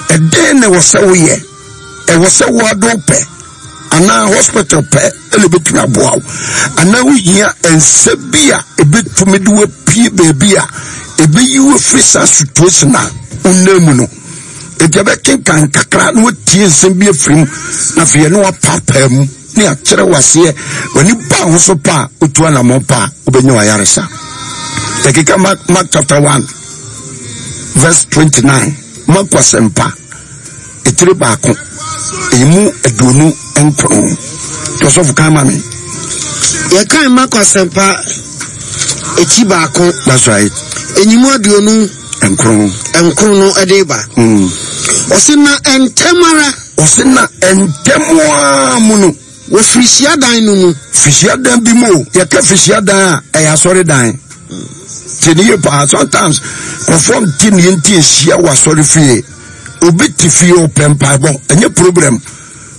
Ɛdɛn na ɛwɔ sɛ woyɛ? Ɛwɔ sɛ woado pɛ anaa hospital pɛ ɛna ɛbɛtumi aboa wo, anaa wohia nsa bi a ɛbɛtumi de wapue baabi a ɛbɛyi wo afiri saa situation a wonam mu no. Enti ɛbɛkenkan kakra na watie nsɛm bi afiri mu, na afei ɛne wapaapaa mu ne akyerɛ wo aseɛ. W'ani ba ho so pa a, wotu anammɔn pa a, wobɛnya w'ayaresa. Yɛkeka Mark, Mark chapter 1 verse 29. Marko asɛmpa etire baako emu 29. Ɔsɔfo kan ma me. Yɛkan Marko asɛmpa eti baako. That's right. Enyimu aduonu. Nkron. Nkron no ɛde ba. Ɔsi na ntɛm ara. Ɔsi na ntɛm ara mu no. Wɔ firihyiadan no mu. Firihyiadan bi mu o, yɛka firihyiadan a, ɛyɛ asɔredan. Tie ne yie paa, sometimes nkurɔfoɔ nte ne nti nhyia wɔ asɔre fie. Obi te fie ɔpɛ mpaebɔ, ɛnyɛ problem.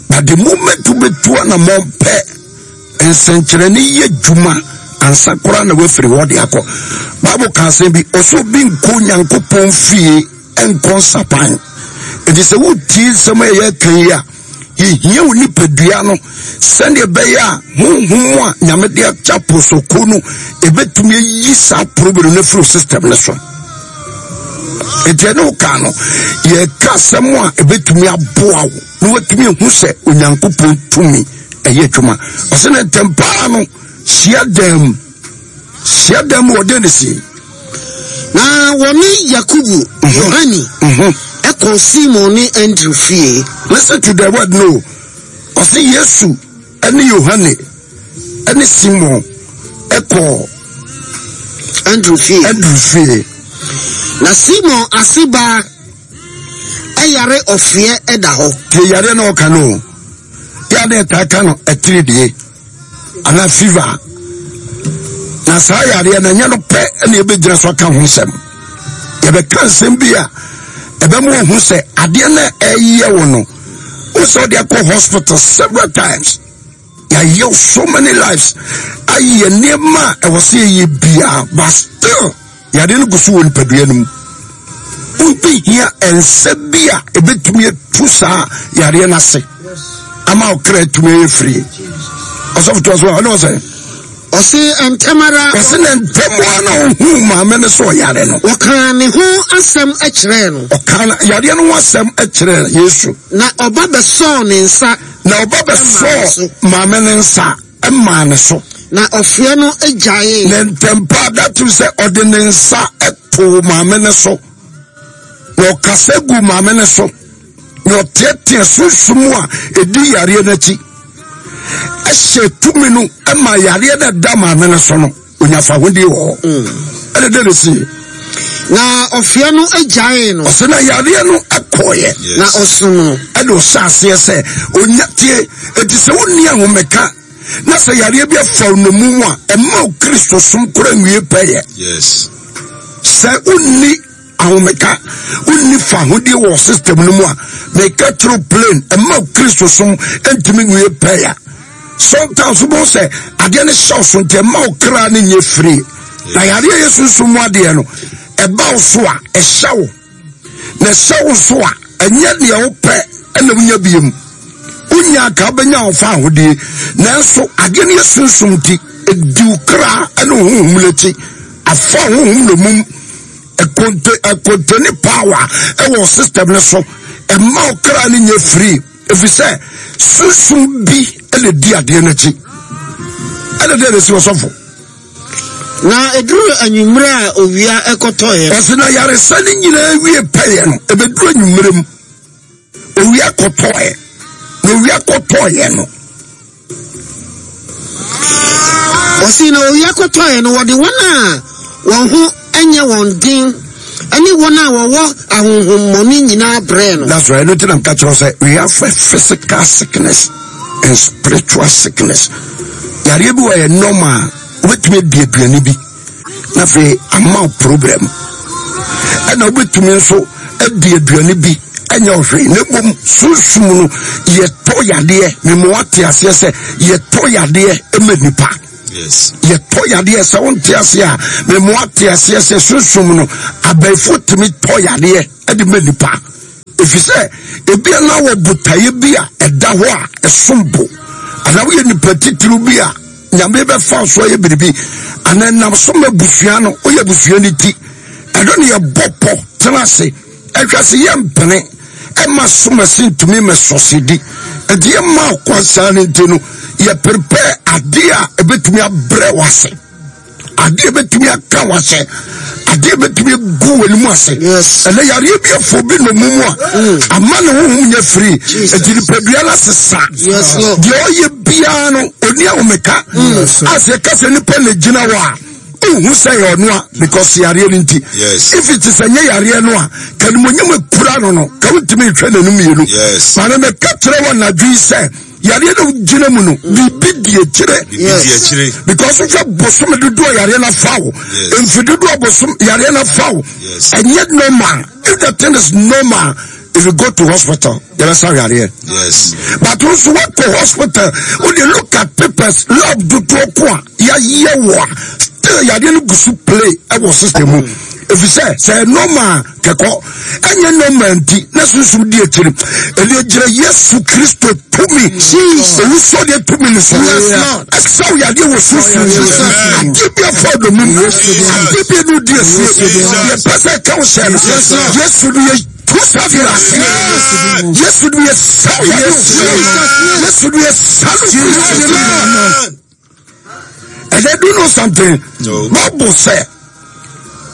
But the moment wobɛtu anammɔn pɛ, nsɛnkyerɛnne yɛ dwuma ansa koraa na woafiri hɔ de akɔ. Bible ka asɛm bi, ɔsɛ obi nkɔ Nyankopɔn fie nkɔ nsapan. Enti sɛ wotie nsɛm a yɛka yi a, yɛhia wo nipadua no sɛdeɛ ɛbɛyɛ a honhom a Nyame de akyɛ aposoko no ɛbɛtumi ayi saa problem no afiri system no so. Enti ɛne wo ka no, yɛka asɛm a ɛbɛtumi aboa wo na watumi ahu sɛ Onyankopɔn tumi ɛyɛ adwuma. Ɔsɛ ne ntɛm paa no hyia dan mu. Hyia dan mu ɔdɛn ne sie. Na wɔne Yakobo, Yohane, ɛkɔɔ Simon ne Andrew fie. Listen to the word no. Ɔse Yesu ɛne Yohane ɛne Simon ɛkɔɔ Andrew fie. Andrew fie. Na Simon ase baa ɛyare ɔfeɛ ɛda hɔ. Tie yareɛ na ɔka no. Yɛ ade ɛtaa ka no atiridie. anaa fever na saa yareɛ no ɛnyɛ no pɛ na yɛbɛgyina so aka ho nsɛm. Yɛbɛka nsɛm bi a ɛbɛma ɔhu sɛ adeɛ no ɛyɛ wo no, wo sɛ wode akɔ hospital several times, yɛayɛ so many lives, ayɛ nneɛma a ɛwɔ sɛ yɛyɛ biara, but still Yadeɛ no gu so wɔ nipadua no mu. Wobɛhia nsa bi a ɛbɛtumi atu saa yareɛ no ase ama wo kra atumi ayɛ firie. Ɔsɔfo toa so a, ɔne ɔsɛ. Ɔse ntɛm ara. Ɔse na ntɛm ara na ɔhuu maame no sɛ ɔyare no. Ɔkaa ne ho asɛm kyerɛɛ no. Ɔkaa yareɛ no ho asɛm kyerɛɛ Yesu. Na ɔba bɛsɔɔ ne nsa. Na ɔba bɛsɔɔ maame no nsa. maa ne so. Na ɔfeɛ no gyaee. Ne ntɛmpa da tumi sɛ ɔde ne nsa too maame no so, na ɔkasa gu maame no so, na ɔteɛteɛ sunsum a ɛdi yareɛ no akyi, ɛhyɛ tumi no ma yareɛ no ɛda maame no so no, onya fahodie wɔ hɔ. Ɛne dɛ ne sie. Na ɔfeɛ no gyaee no. Ɔsɛ na yareɛ no kɔɔeɛ. Na ɔsom no. Ɛna ɔhyɛ aseɛ sɛ onya tie. Eti sɛ wonni ahomeka na sɛ yareɛ bi afa wo nnommum a, ɛmma wo Kristo som kora nwie pɛyɛ. Yes. Sɛ wonni ahomeka, wonni fahodie wɔ system no mu a, meka kyerɛ plain, ɛmma wo Kristo som ntumi nwie pɛyɛ. Sometimes wobɛhu sɛ adeɛ no hyɛ wo so nti ɛma wo kra no nyɛ firi. Na yareɛ yɛ sunsum mu adeɛ no, ɛba wo so a, ɛhyɛ wo. Na ɛhyɛ wo so a, ɛnyɛ deɛ wopɛ ɛna wonya biem. Wonya anka wobɛnya wo fa ahodie. Nanso adeɛ no yɛ sunsum nti, ɛdi wo kra ne wo honhom no akyi. Afa honhom no mum. Ɛkonte ɛkontene power ɛwɔ system no so. Ɛma wo kra no nyɛ firi. Efisɛ sunsum bi na edi adeɛ no akyi. Ɛna dɛn na esi ɔsɔfo? Na eduru anwummerɛ a owia kɔtɔeɛ. Ɔsi na yaresa no nyinaa wie pɛyɛ no, ebeduru anwummerɛ mu, owia kɔtɔeɛ. Na owia kɔtɔeɛ no. Ɔsi na owia kɔtɔeɛ no, wɔde wɔn a wɔn ho nyɛ wɔn den ne wɔn a wɔwɔ ahonhommɔne nyinaa brɛɛ no. That's right. Ɛno nti na meka kyerɛ sɛ we have a physical sickness and spiritual sickness. Yareɛ bi wɔ yɛ normal, wobɛtumi adi aduane bi na afei ama wo problem. Ɛna wobɛtumi nso adi aduane bi ɛnyɛ ɔhwee na mmom sunsum no yɛtɔ yadeɛ. Mema wate aseɛ sɛ yɛtɔ yadeɛ ma nipa. Yɛtɔ yadeɛ sɛ wonte aseɛ a, mema wate aseɛ sɛ sunsum no abɛɛfo tumi tɔ yadeɛ de ma nipa. Ɛfiri sɛ ebia na wɔ botaeɛ bi a ɛda hɔ a ɛsom bo, anaa woyɛ nipa titiriw bi a Nyame bɛfa so ayɛ biribi, anaa ɛnam so ma abusua no, woyɛ abusua no ti. Ɛno ne yɛbɔ pɔ tena ase ɛhwɛ sɛ yɛmpene ɛma som ase ntumi mɛsɔsedi. Nti yɛma ɔkwan saa no nti no, yɛ prepare adeɛ a ɛbɛtumi abrɛ wɔ ase. Adeɛ bɛtumi aka wahyɛ, adeɛ bɛtumi agu w'anim ase. Ɛnɛ yareɛ bi afɔ bi nnomu mu a mm. ama ne honhom nyɛ firi, ɛnti nipadua no asesa. Deɛ ɔyɛ biara no ɔni ahomeka. Mm. A sɛ ɛka sɛ nipa na gyina hɔ a, wohu sɛ yɛ ɔno a, because yareɛ no nti. If it is ɛnyɛ yareɛ no a, ka nimonyam akura no, ka wontumi nhwɛ n'anim mmienu. Maame, mɛka kyerɛ wɔ anadwo yi sɛ yareɛ no gyina mu no, biribi di akyire, because wohwɛ bosome dodoɔ yareɛ no afa wo, mfe dodoɔ bosom yareɛ no afa wo, ɛnyɛ normal. If the thing is normal, if you go to hospital, yɛbɛsa yareɛ. But nso woakɔ hospital, wode look at papers, lab dodoɔ ko a yɛayɛ wɔ a, still yareɛ no gu so play ɛwɔ system mu. Ɛfiri sɛ sɛ normal kɛkɔ ɛnyɛ nɔɔma nti na sunsum di akyiri. Ɛne gyina Yesu Kristo tumi, owusɔ deɛ tumi ne so ɛsɛw yadeɛ wɔ sunsum adeɛ bi afa ɔdɔmum, adeɛ bi ɛnu di asie, deɛ pɛ sɛ ɛka wo hyɛ no, Yesu no yɛ tu sa fi ase. Yesu no yɛ sɛw yadeɛ wɔ sunsum, Yesu no yɛ sɛw. And they do know something. No. Bible sɛ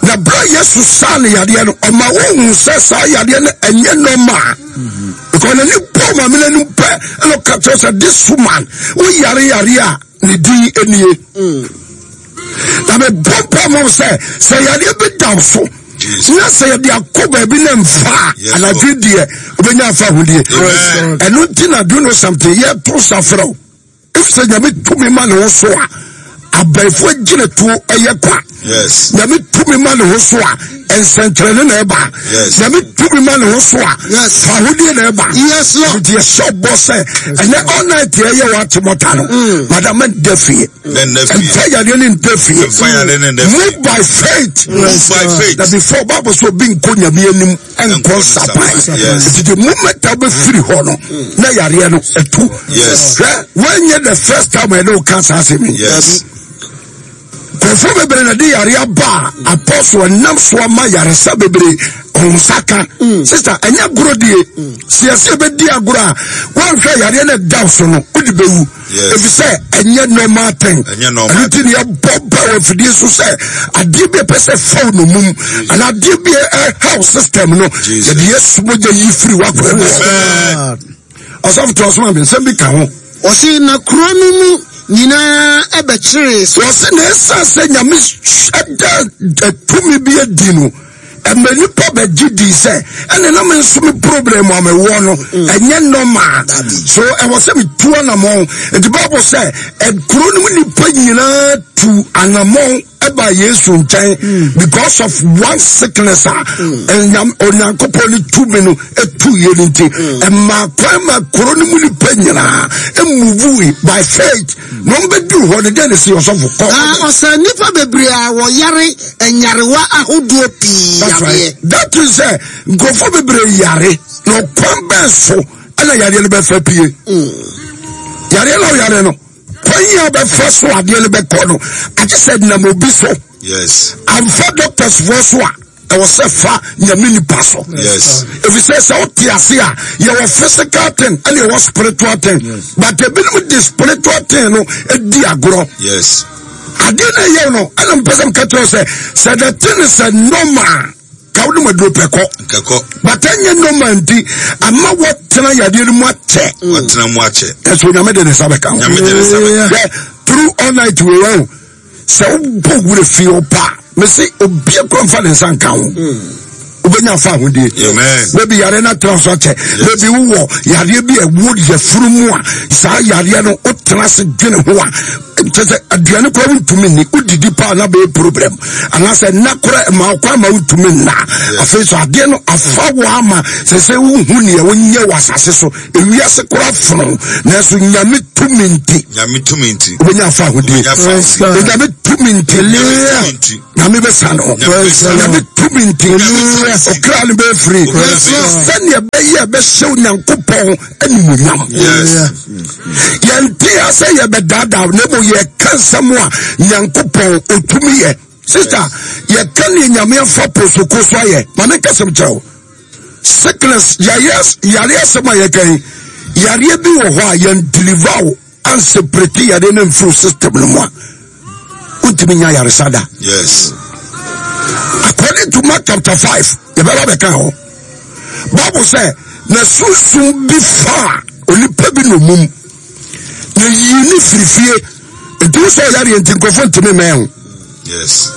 na berɛ Yesu saa ne yadeɛ no, ɔma wohu sɛ saa yadeɛ no ɛnyɛ normal. Mm-hmm. Because n'ani bɔ maame no anim pɛ ɛna ɔka kyerɛ sɛ this woman woyare yare a ne din nie. Mm. Na mebɔ mpa ma sɛ sɛ yadeɛ bi da so na sɛ yɛde akɔ baabi na mfa a, anadwo deɛ wobɛnya afa ahodeɛ. Ɛno nti na do know something, yɛto safrɛ wo. Efisɛ Nyame tumi ma ne ho so a, abaifo agyinatuo ɛyɛ kwa. Nyame tumi ma ne ho so a, nsɛnkyerɛnne na ɛba. Nyame tumi ma ne ho so a, fahodie na ɛba. Nti yɛhyɛ ɔbɔ sɛ ɛnɛ all night ɛyɛ wɔ atemɔta no, mm. madam ɛnda fie. Ɛmfa yadeɛ ne nda fie. Move by faith. Move by faith. Na before Bible so obi nkɔ Nyame anim. Nkɔ nsapan. Nti the moment a wobɛfiri hɔ no, na yareɛ no ɛtu. Hwɛ, woanyɛ the first time ɛne woka saa asɛm yi. Nkurɔfoɔ bebree na de yareɛ aba a apɔso ɛnam so ama yaresa bebree ɔnsa ka. Sista, ɛnyɛ agorɔ die. Sɛ yɛsɛ yɛbɛdi agorɔ a, woanhwɛ yareɛ no ɛda so no, wode bɛwu. Efisɛ ɛnyɛ normal thing. Ɛno nti ne yɛbɔ ba wɔ afidie so sɛ adeɛ bi a ɛpɛ sɛ faw no mum anaa adeɛ bi a ɛhaw system no, yɛde Yesu mogya yi firi w'akwan mu. Ɔsɔfo to ɔsoma mi nsɛm bi ka ho. Ɔse na kuro no mu nyinaa ɛbɛkyeree so. Ɔse na ɛsiane sɛ Nyame ɛda tumi bi adi no, ɛma nipa bɛgye di sɛ ɛne na me nso me problem a mewɔ no mm. ɛnyɛ normal, so ɛwɔ sɛ metu anamɔn. Nti Bible sɛ kuro no mu nipa nyinaa tu anamɔn ɛba Yesu nkyɛn mm. because of one sickness a mm. Onyankopɔn ne tumi no ɛtu yɛ no nti ɛma kwan ma kuro no mu nipa nyinaa ɛmuvui by faith. Na wɔn bɛduru hɔ no, dɛn na ɛsi? Ɔsɔfo, kɔ. Na ɔsaa nnipa bebree a wɔyare nyarewa ahodoɔ pii That's right. yareɛ. That is sɛ nkurɔfoɔ bebree yare, na ɔkwan bɛn so ɛna yareɛ no bɛfa pie? Yareɛ na ɔyare no, kwan yi a bɛfa so adeɛ no bɛkɔ no, agye sɛ nam obi so. Yes. Amfa doctors foɔ so a, ɛwɔ sɛ fa Nyame nipa so. Yes. Efisɛ sɛ wote ase a, yɛwɔ physical thing ɛna yɛwɔ spiritual thing. Yes. But ebinom de spiritual thing no di agorɔ. Yes. Adeɛ na ɛyɛ no, ɛna mpɛ sɛ mka kyerɛ sɛ sɛ the thing is a normal, ka wode ma duro pɛ kɔ. Nkɛkɔ. But ɛnyɛ normal nti ama wɔtena yadeɛ no mu akyɛ. Wɔtena mu akyɛ. Ɛso Nyame de ne nsa bɛka ho. Nyame de ne nsa bɛka. Hwɛ, through all night wei wɔn. Sɛ wobɔ wura fie hɔ pa a, mese obia kura mfa ne nsa nka ho. Wobɛnya afa ahodie. Baabi yareɛ no atena so akyɛ. Baabi wowɔ yareɛ bi a ɛwɔ yafunu mu a, saa yareɛ no wotena ase dwene ho a, kyɛ sɛ aduane kora wontumi nni, wodidi paa na bɛyɛ problem. Anaasɛ nna kora ma wokɔ ama wontumi nna. Afei so adeɛ no afa wo ama sɛ sɛ wohu neɛ wonyɛ wɔ asase so. Ewiase kora fono, nanso Nyame tumi nti. Nyame tumi nti. Wobɛnya afa ahodie. Nyame tumi nti. Nyame bɛsa no. Nyame tumi nti. Ɔkra no bɛyɛ firi. Sɛdeɛ bɛyɛ. yɛbɛyɛ ɛbɛhyɛ Onyankopɔn animuonyam. Yɛnte ha sɛ yɛbɛdaadaa na mmom yɛka nsɛm a Nyankopɔn ɔtumi yɛ. Sista, yɛka ne Nyame afa posoko so ayɛ. Ma menka sɛm kyerɛ wo. Sickness, yareɛ asɛm a yɛka yi, yareɛ bi wɔ hɔ a yɛn deliver wo anseparate yareɛ no mfiri system no mu a, wontumi nya yaresa da. Yes. According to Mark chapter 5, yɛbɛba bɛka hɔ. Bible sɛ, na sunsum bi faa onipa bi nomum, na yii ne firi fie. Nti wo sɛ ɔyareɛ nti nkurɔfoɔ ntumi mmɛn ho. Yes.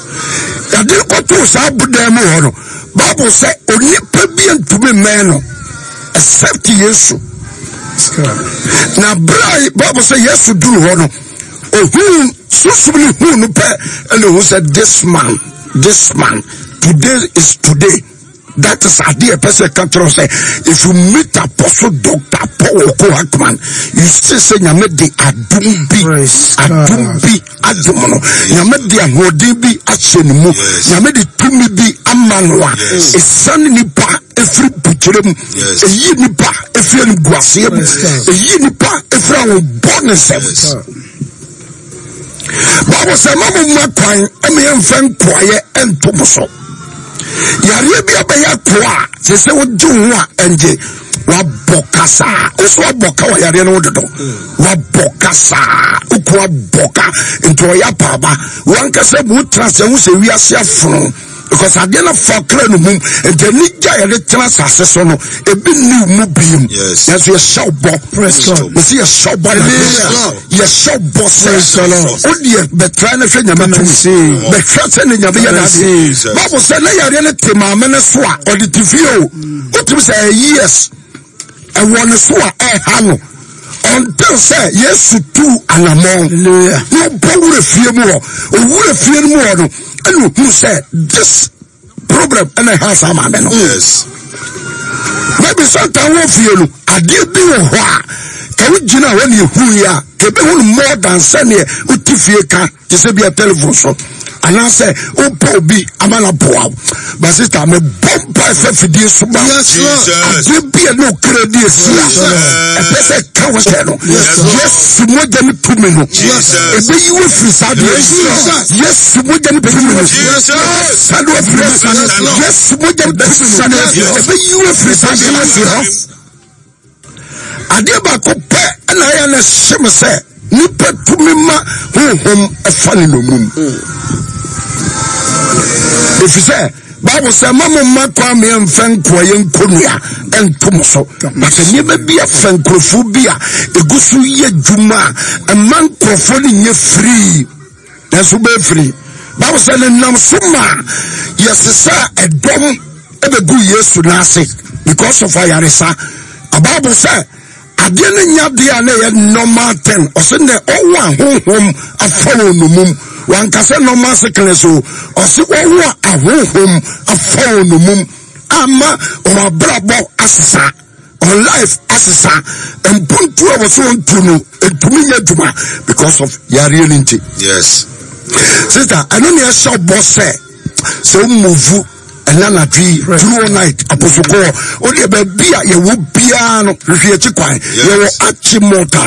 Yɛde no kɔtoo saa abodan mu hɔ no, Bible sɛ onipa bi ntumi mmɛn no except Yesu. Na berɛ a Bible sɛ Yesu duru hɔ no, ohuu sunsum no huu no pɛ ɛna ohu sɛ this man, this man, today is today. That is adeɛ ɛpɛ sɛ ɛka kyerɛ sɛ if you meet apostle doctor Paul Oko Hackman you see sɛ nyame de adom bi adom bi adom no nyame de ahoɔden bi ahyɛ ne mu nyame de tumi bi ama no a ɛsiane nipa ɛfiri bukyerɛ mu ɛyi nipa ɛfiri animguaseɛ mu ɛyi nipa ɛfiri ahobɔ ne nsɛm. Bible sɛ ma mo mma kwan ma yɛmfa nkoayɛ nto mo so. Yareɛ bi abɛyɛ akoa a sɛ sɛ wogye wo ho a ɛngye wabɔ kasaa wo so wabɔ ka wɔ yareɛ no wo dodo wabɔ kasaa woko abɔ ka nti ɔyɛ apaaba wankasa mu wotena sɛ wo sɛ wiase afono because adeɛ no fa kra no mum nti anigye a yɛde tena asase so no ebi nni mu biem nanso yɛhyɛ wo bɔ mesi yɛhyɛ wo bɔ yɛhyɛ wo bɔ sɛ wodeɛ bɛtra no hwɛ nyame tumi bɛhwɛ sɛ ne nyame yɛ n'adeɛ bible sɛ na yareɛ no te maame no so a ɔde te fie o wotumi sɛ ɛyɛ years ɛwɔ ne so a ɛha no until sɛ yesu tu anamɔn na ɔbɔ wura fie mu hɔ owura fie no mu hɔ no ɛna ohun sɛ this problem ɛna ɛha saa maame no yes maybe sometimes wɔ fie no adeɛ bi wɔ hɔ a ka wo gyina hɔ ne ehu yi a ka ebi hu no more than sɛdeɛ wote fie ka te sɛ bia telephone so anaasɛ wopɛ obi ama no aboa wo ba sista mebɔ mpa ɛfɛ fidie so ma adeɛ bi a ne okra di asi a ɛpɛ sɛ ka wo sɛ no yesu mogya no tumi no ɛbɛyi wo afiri saa deɛ yesu mogya no tumi no sane afiri yesu mogya no tumi no ɛbɛyi wo afiri saa deɛ Adeɛ baako pɛ na ayɛ na ɛhyɛ me sɛ nipa tumi ma honhom ɛfa ne nnommum. Ɛfiri sɛ Bible sɛ ma mo mma kwan me ɛmfɛ nkoa yɛ nkonnua ɛnto mo so. But nneɛma bi afa nkurɔfoɔ bi a ɛgu so yɛ adwuma a ɛma nkurɔfoɔ no nyɛ firii. Nanso wobɛyɛ firi. Bible sɛ ne nam so ma yɛsesa ɛdɔm ɛbɛgu Yesu n'ase because of ayaresa. Bible sɛ adeɛ no nya adeɛ a na ɛyɛ normal thing. Ɔsɛ nɛ ɔwɔ ahonhom afa wɔn nomum. Wanka sɛ normal sickness o. Ɔsɛ ɔwɔ ahonhom afa wɔn nomum ama wɔn abrabɔ asesa. On life asesa mpuntu a wɔsɛ wɔntu no ntumi nyɛ adwuma because of yareɛ no nti. Yes. Sister, ɛno ne ɛhyɛ bɔ sɛ sɛ womuvu ɛna anadwo yi through all night aposokɔ wodeɛ baabi a yɛwɔ biara no hwehwɛ akyi kwan yɛwɔ akye mɔta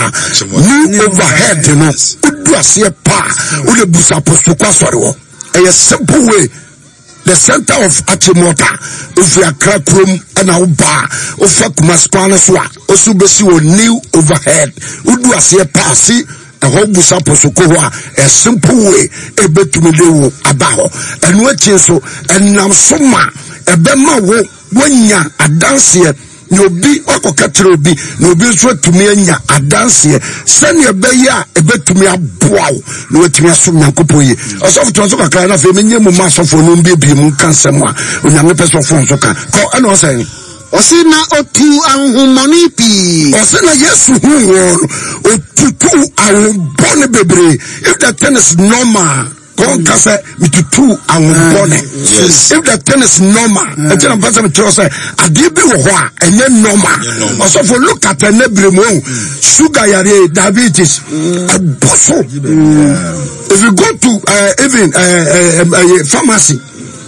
new overhead no wodu aseɛ paa wode busa aposokɔ asɔre hɔ ɛyɛ simple way The center of Achimota, ofi Accra kurom ɛna woba a, wofa Kumasi kwan no so a, osi wobɛsi wɔ new overhead. Wodu aseɛ paa si ɛhɔ busa posoko hɔ a, a simple way ɛbɛtumi de wo aba hɔ. Ɛno akyi nso, ɛnam so ma ɛbɛma wo woanya adanseɛ na obi wakɔka kyerɛ obi na obi nso atumi anya adanseɛ sɛnea ɛbɛyɛ a ɛbɛtumi aboa wo na watumi asom nyankopɔn yie ɔsɔfo toa so kakra na afei menyɛ mu ma asɔfoɔ no mbiebie mu nka nsɛm a onyame pɛ sɛ ɔfoɔ nso ka kɔ ɛna ɔsɛn Ɔse na ɔtuu ahonhommɔne pii. Ɔse na Yesu huu wɔn no, ɔtutuu ahonhommɔne bebree. If the thing is normal, kɔnka sɛ metutu ahombɔne if the thing is normal ɛnti na mpɛ sɛ mekyerɛ sɛ adeɛ bi wɔ hɔ a ɛnyɛ normal ɔsɔfo look at ɛnɛ bere mu ohu sugar yareɛ diabetes ɛbɔ so if you go to uh, even uh, uh, uh, pharmacy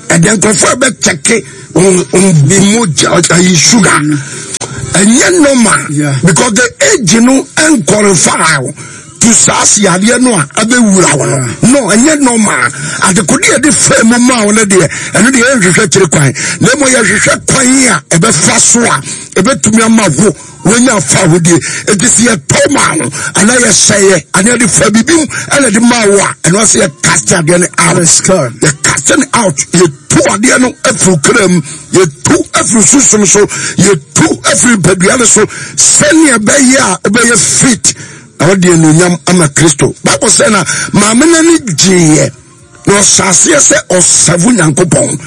ɛdeɛ nkurɔfoɔ ɛbɛkyɛke wɔn mogya ayi sugar. Ɛnyɛ normal because the age no ɛnkɔrefaa to saa yadeɛ no a abɛwura wo no. No, ɛnyɛ normal. Adekode yɛde fɛ mu maa wo no deɛ, ɛno deɛ yɛnhwehwɛ kyerɛ kwan. Na mmom yɛhwehwɛ kwan a ɛbɛfa so a ɛbɛtumi ama wo wonya afahodie. Enti sɛ yɛtɔ maa wo anaa yɛhyɛeɛ anaa yɛde fa biribi mu ɛna de maa wo a, ɛno ase yɛ cast adeɛ no out. Yɛ cast no out. Yɛtu adeɛ no afiri kra mu. Yɛtu afiri sunsum so. Yɛtu afiri mpadua no so sɛnea ɛbɛyɛ a wobɛyɛ fit na wɔde anuonyam ama Kristo. Bible sɛ na maame no ani gyeeɛ na ɔhyɛ aseɛ sɛ ɔsɛvo Nyankopɔn,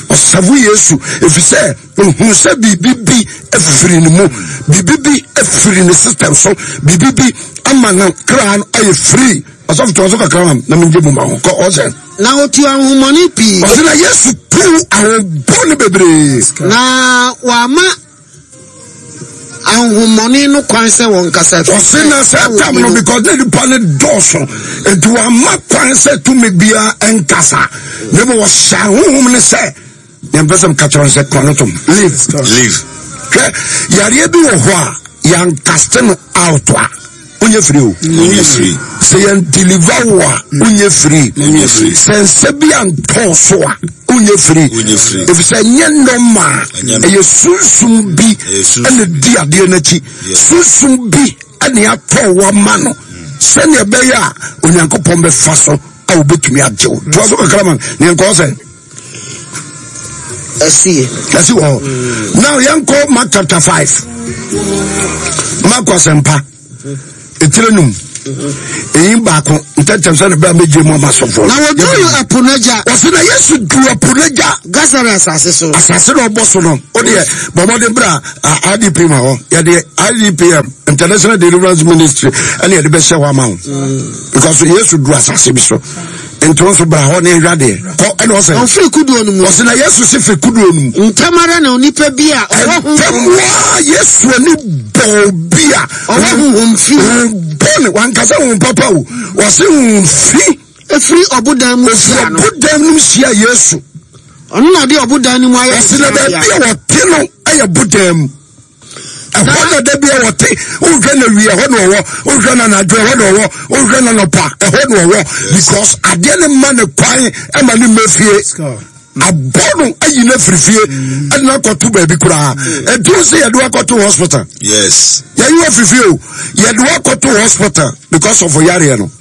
ɔsɛvo Yesu, ɛfiri sɛ ohun sɛ biribi bi afiri ne mu, biribi bi afiri ne system so, biribi bi ama no kra no ayɛ free. Ɔsɔfo toa so kakra ma na mengye mu ma ho kɔ ɔsɛ. Na ɔtu ahonhommɔne pii. Ɔsɛ na Yesu tu ahonhommɔne bebree. Na wama ahonhommɔne no kwan sɛ wɔnkasa. Ɔse na sɛ tam no because na nipa no dɔɔso nti wama kwan sɛ tumi biara nkasa na mmom ɔhyɛ ahonhom no sɛ yɛmpɛ sɛ mka kyerɛ no sɛ kɔ no tom leave. Leave. Hwɛ yareɛ bi wɔ hɔ a yɛnkaste no out a wonyɛ free o. Wonyɛ free. Sɛ yɛn deliver wo a wonyɛ free. Wonyɛ free. Sɛ nsa bi antɔ so a wonyɛ free. Wonyɛ free. Efisɛ ɛnyɛ normal. Ɛyɛ sunsum bi ɛna di adeɛ n'akyi. Sunsum bi ɛna atɔ wo ama no sɛnea ɛbɛyɛ a Onyankopɔn bɛfa so a obetumi agye wo. Toa so kakra ma ne nkɔɔ sɛ. Ɛsi. Ɛsi wɔ hɔ. Now yɛnkɔ Mark chapter 5. Mark asɛmpa. Etire num. Eyi baako ntɛntɛm sɛ ne bɛn bɛgye mu ama sɔfo. Na wɔduru ɛpo no agya. Wɔsi na Yesu duru ɛpo no agya. Gasara asase so. Asase na ɔbɔ so no. O deɛ bɔbɔden bra IDP ma hɔ. Yɛde IDPM International Deliverance Ministry ɛna yɛde bɛhyɛ hɔ ama wo. Because Yesu duru asase bi so. Nti wo nso bra hɔ ne nhwɛ adeɛ. Kɔ ɛna ɔsɛ. Ɔfiri kuduo no mu. Ɔsɛ na Yesu si firi kuduo no mu. Ntɛm ara na onipa bi a ɔwɔ honhom. Ntɛm ara Yesu ani bɔɔ obi a. Ɔwɔ honhom fi. Honhom bɔne wankasa honhom papa o. Ɔsɛ honhom fi. Efiri ɔbodan mu hyia no. Efiri ɔbodan no mu hyia Yesu. Ɔno na ɔde ɔbodan no mu ayɛ. Ɔsɛ na baabi a wɔte no yɛ bodan mu. Ɛhɔ na da bi a wɔte, wohwɛ na wie ɛhɔ na ɔwɔ, wohwɛ na anadwo ɛhɔ na ɔwɔ, wohwɛ na nɔpa ɛhɔ na ɔwɔ because adeɛ no ma ne kwan ɛma ne mma fie. Abɔ no ayi no afiri fie ɛde no akɔto baabi koraa. Ɛnti wo sɛ yɛde wakɔto hospital. Yes. Yɛyi wɔ afiri fie o, yɛde wakɔto hospital because of yareɛ no.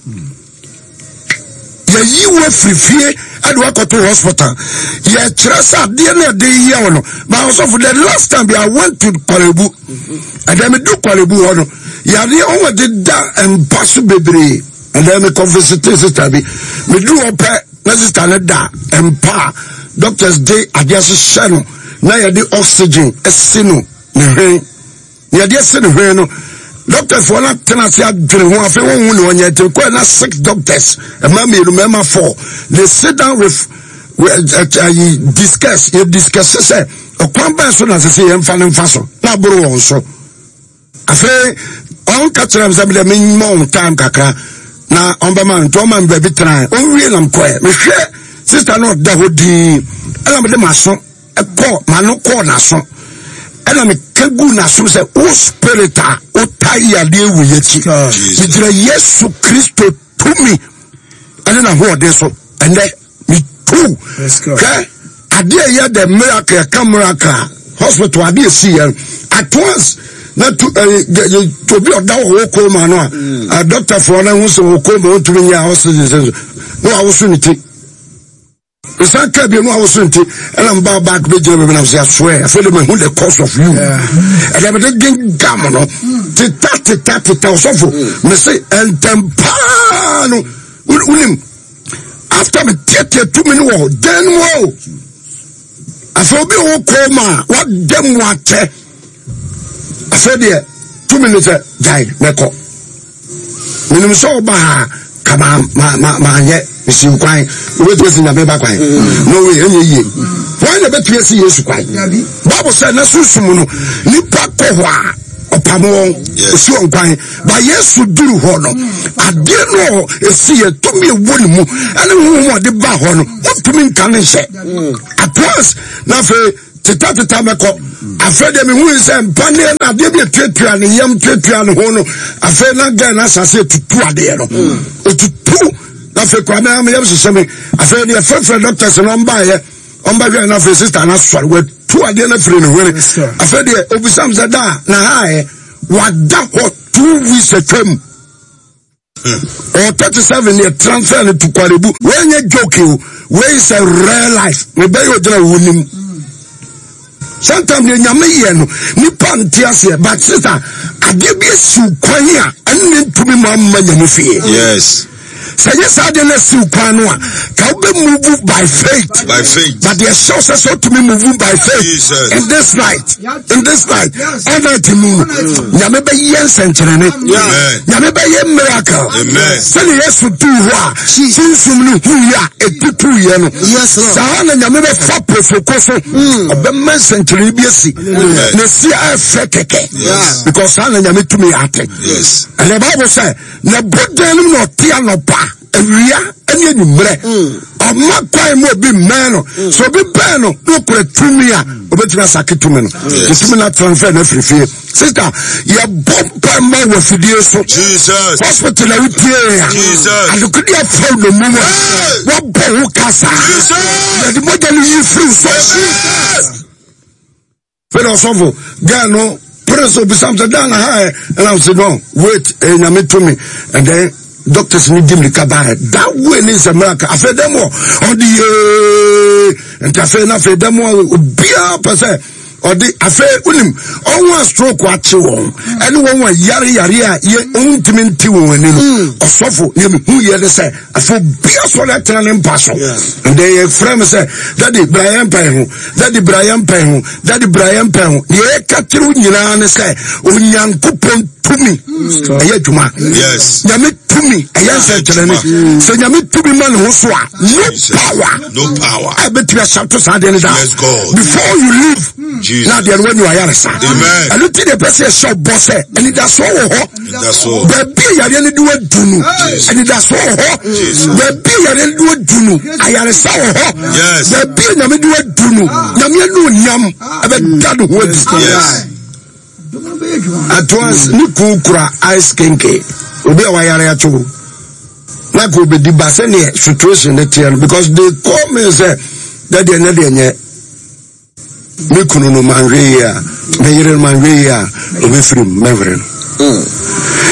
Yɛyi wo afiri fie ɛde wakɔto hospital. Yɛkyerɛ sɛ adeɛ no ɛde yɛ wo no. Ba ɔsɔfo the last time I went to Kwalebu. Ɛdɛ me du Kwalebu hɔ no, yareɛ wɔn de da mpa so bebree. Ɛdɛ me kɔ visit sister bi. Me du hɔ pɛ na sister no da mpa a doctors de adeɛ ahyehyɛ no na yɛde oxygen asi no ne hwene. Nea ɛde asi ne hwene no, dɔktafoɔ no atena ase adwene ho afei wɔn ho ne wɔnyɛ nti kɔɛ na six doctors mmaa mmienu mmarima four they sit down with uh, discuss yɛ discuss sɛ ɔkwan bɛn so na sɛ sɛ yɛmfa no mfa so na aboro wɔn so afei ɔn ka kyerɛ m sɛ mede memmɔ wɔn time kakra na ɔmbɛma nti ɔma me baabi tena ɔnwie nam kɔɛ mehwɛ sista no ɔda hɔ dii ɛna mede maso kɔ m'ano kɔɔ n'aso ɛna meka gu n'aso sɛ wo spirit a wota yadeɛ wɔ yɛakyi megyina Yesu Kristo tumi ɛne n'ahoɔden so ɛnɛ metu hwɛ adeɛ yɛ the miracle ɛka miracle a hospital adeɛ si yɛn at once na tu ɛɛ obi ɔda wɔ wɔ kɔn no a dɔktafoɔ no ho sɛ wɔ kɔn mu ɔntumi nyɛ oxygen sɛ na wawoso ne ti. Mesan kaa bio no awoso nti ɛna mbaa back bɛgyina baabi na sɛ asoɛ afei de mahu the cause of you ɛdɛ mede gengam no teta teta teta ɔsɔfo mese ɛntɛm paa no wonim after meteatea tumi no wɔ dan mu o afei obi wɔ kɔɔ ma a wada mu akyɛ afei deɛ tumi no sɛ gyae mɛkɔ menim sɛ ɔba ha ka maanyɛ mesiw kwan wobɛtumi asi nyame ba kwan mm. no way ɛnyɛ yie wan na bɛtumi asi Yesu kwan Bible sɛ na sunsum no nipa kɔ hɔ a ɔpam wɔn ɔsi wɔn kwan ba Yesu duru hɔ no adeɛ no ɛsi yɛ tumi ɛwɔ ne mu ɛne honhom ɔde ba hɔ no wontumi nka ne nhyɛ mm. at once na afei. Tetateta mɛkɔ. Afei deɛ mehu yi sɛ mpaneɛ no adeɛ bi atuatua ne yam tuatua ne ho no afei na gɛn no asase atutu adeɛ no. Otutu na afei kora mɛ meyam hyehyɛ me. Afei deɛ frɛfrɛ doctors no ɔmbaeɛ ɔmbɛhwɛ no afei sister no asɔre watu adeɛ no afiri ne hwene. Afei deɛ obisam sɛ da na ha ɛ wada hɔ 2 weeks atwam. Ɔwɔ 37 yɛ transfer no to Kwalebu. Wei nyɛ joke o, wei is a real life. Mebɛyɛ ogyina wo nim. Sometimes deɛ nyame yɛ no nipa nte aseɛ but sister adeɛ bi esiw kwan a ɛne ne ntumi ma mma nyame fie. Yes. Sɛ nyɛ saa adeɛ no asiw kwan no a ka wobɛ move by faith. By faith. But deɛ hyɛ wo sɛ sɛ wotumi move by faith. Jesus. In this night. In this night. All night mu no. Nyame bɛyɛ nsɛnkyerɛnne. Nyame bɛyɛ miracle. Sɛdeɛ Yesu duu hɔ a sunsum no huiɛ a ɛtutuiɛ no. Saa na Nyame bɛfa pofoko so. Ɔbɛma nsɛnkyerɛnne bi asi. Na esi a ɛfɛ kɛkɛ. Because saa na Nyame tumi ate. And the Bible sɛ na bodan no mu na ɔte anɔpa awia ne anwummerɛ ɔma kwan ma obi mmɛn no sɛ obi bɛn no na ɔkura tumi a obɛtumi asake tumi no tumi no atransfer no afiri fie. Sister, yɛbɔ mpa ma wɔ afidie so hospital a wotie a adekode afa no mu a wɔbɔ wo kasa yɛde mogya no yi firi so. Fɛdɛ ɔsɔfo girl no pere sɛ obisam sɛ dan na ha ɛ ɛna ɔsɛ no wait ɛyɛ nyame tumi and then doctors ni di mirika baayɛ that way ne nsɛ miracle afei dɛm wɔ ɔde yee nti afei na afei dɛm wɔ obiara pɛ sɛ ɔde afei wonim ɔho a stroke akye wɔn ɛne wɔn a yare yare a yɛ ɔntumi nti wɔn ani no ɔsɔfo nea mehu yɛ ne sɛ afei obiara sɔre atena ne mpa so and then yɛfrɛ me sɛ daddy bra yɛn mpae ho. Dade bra yɛn mpɛn ho. Dade bra yɛn mpɛn ho. Deɛ yɛka kyerɛ wo nyinaa ne sɛ Onyankopɔn tumi ɛyɛ adwuma. Yes. Nyame tumi ɛyɛ nsɛnkyerɛnne. Sɛ Nyame tumi ma ne ho so a, no power. No power. A ɛbɛtumi ahyɛ saa adeɛ no da. Yes, God. Before you leave, Jesus. na adeɛ no wanya wayaresa. Amen. Ɛno ti deɛ ɛpɛ sɛ yɛhyɛ ɔbɔ sɛ anidasoɔ wɔ hɔ. Anidasoɔ. Baabi a yareɛ no de wadu no, anidasoɔ wɔ hɔ. Baabi a yareɛ no de wadu no, ayaresa wɔ hɔ. Yes. Baabi a nyame de wadu no, nyame anuonyam ɛbɛda ne ho adi. Yes. At once, ne kun kura ice kenke. Obi a wayare ato. Na ka obedi ba sɛdeɛ situation ne teɛ no because they call me sɛ dɛdeɛ nyɛ deɛ nyɛ. Me kunu no manhwɛ yie a, me yere no manhwɛ yie a, obɛfiri mu mɛwere no.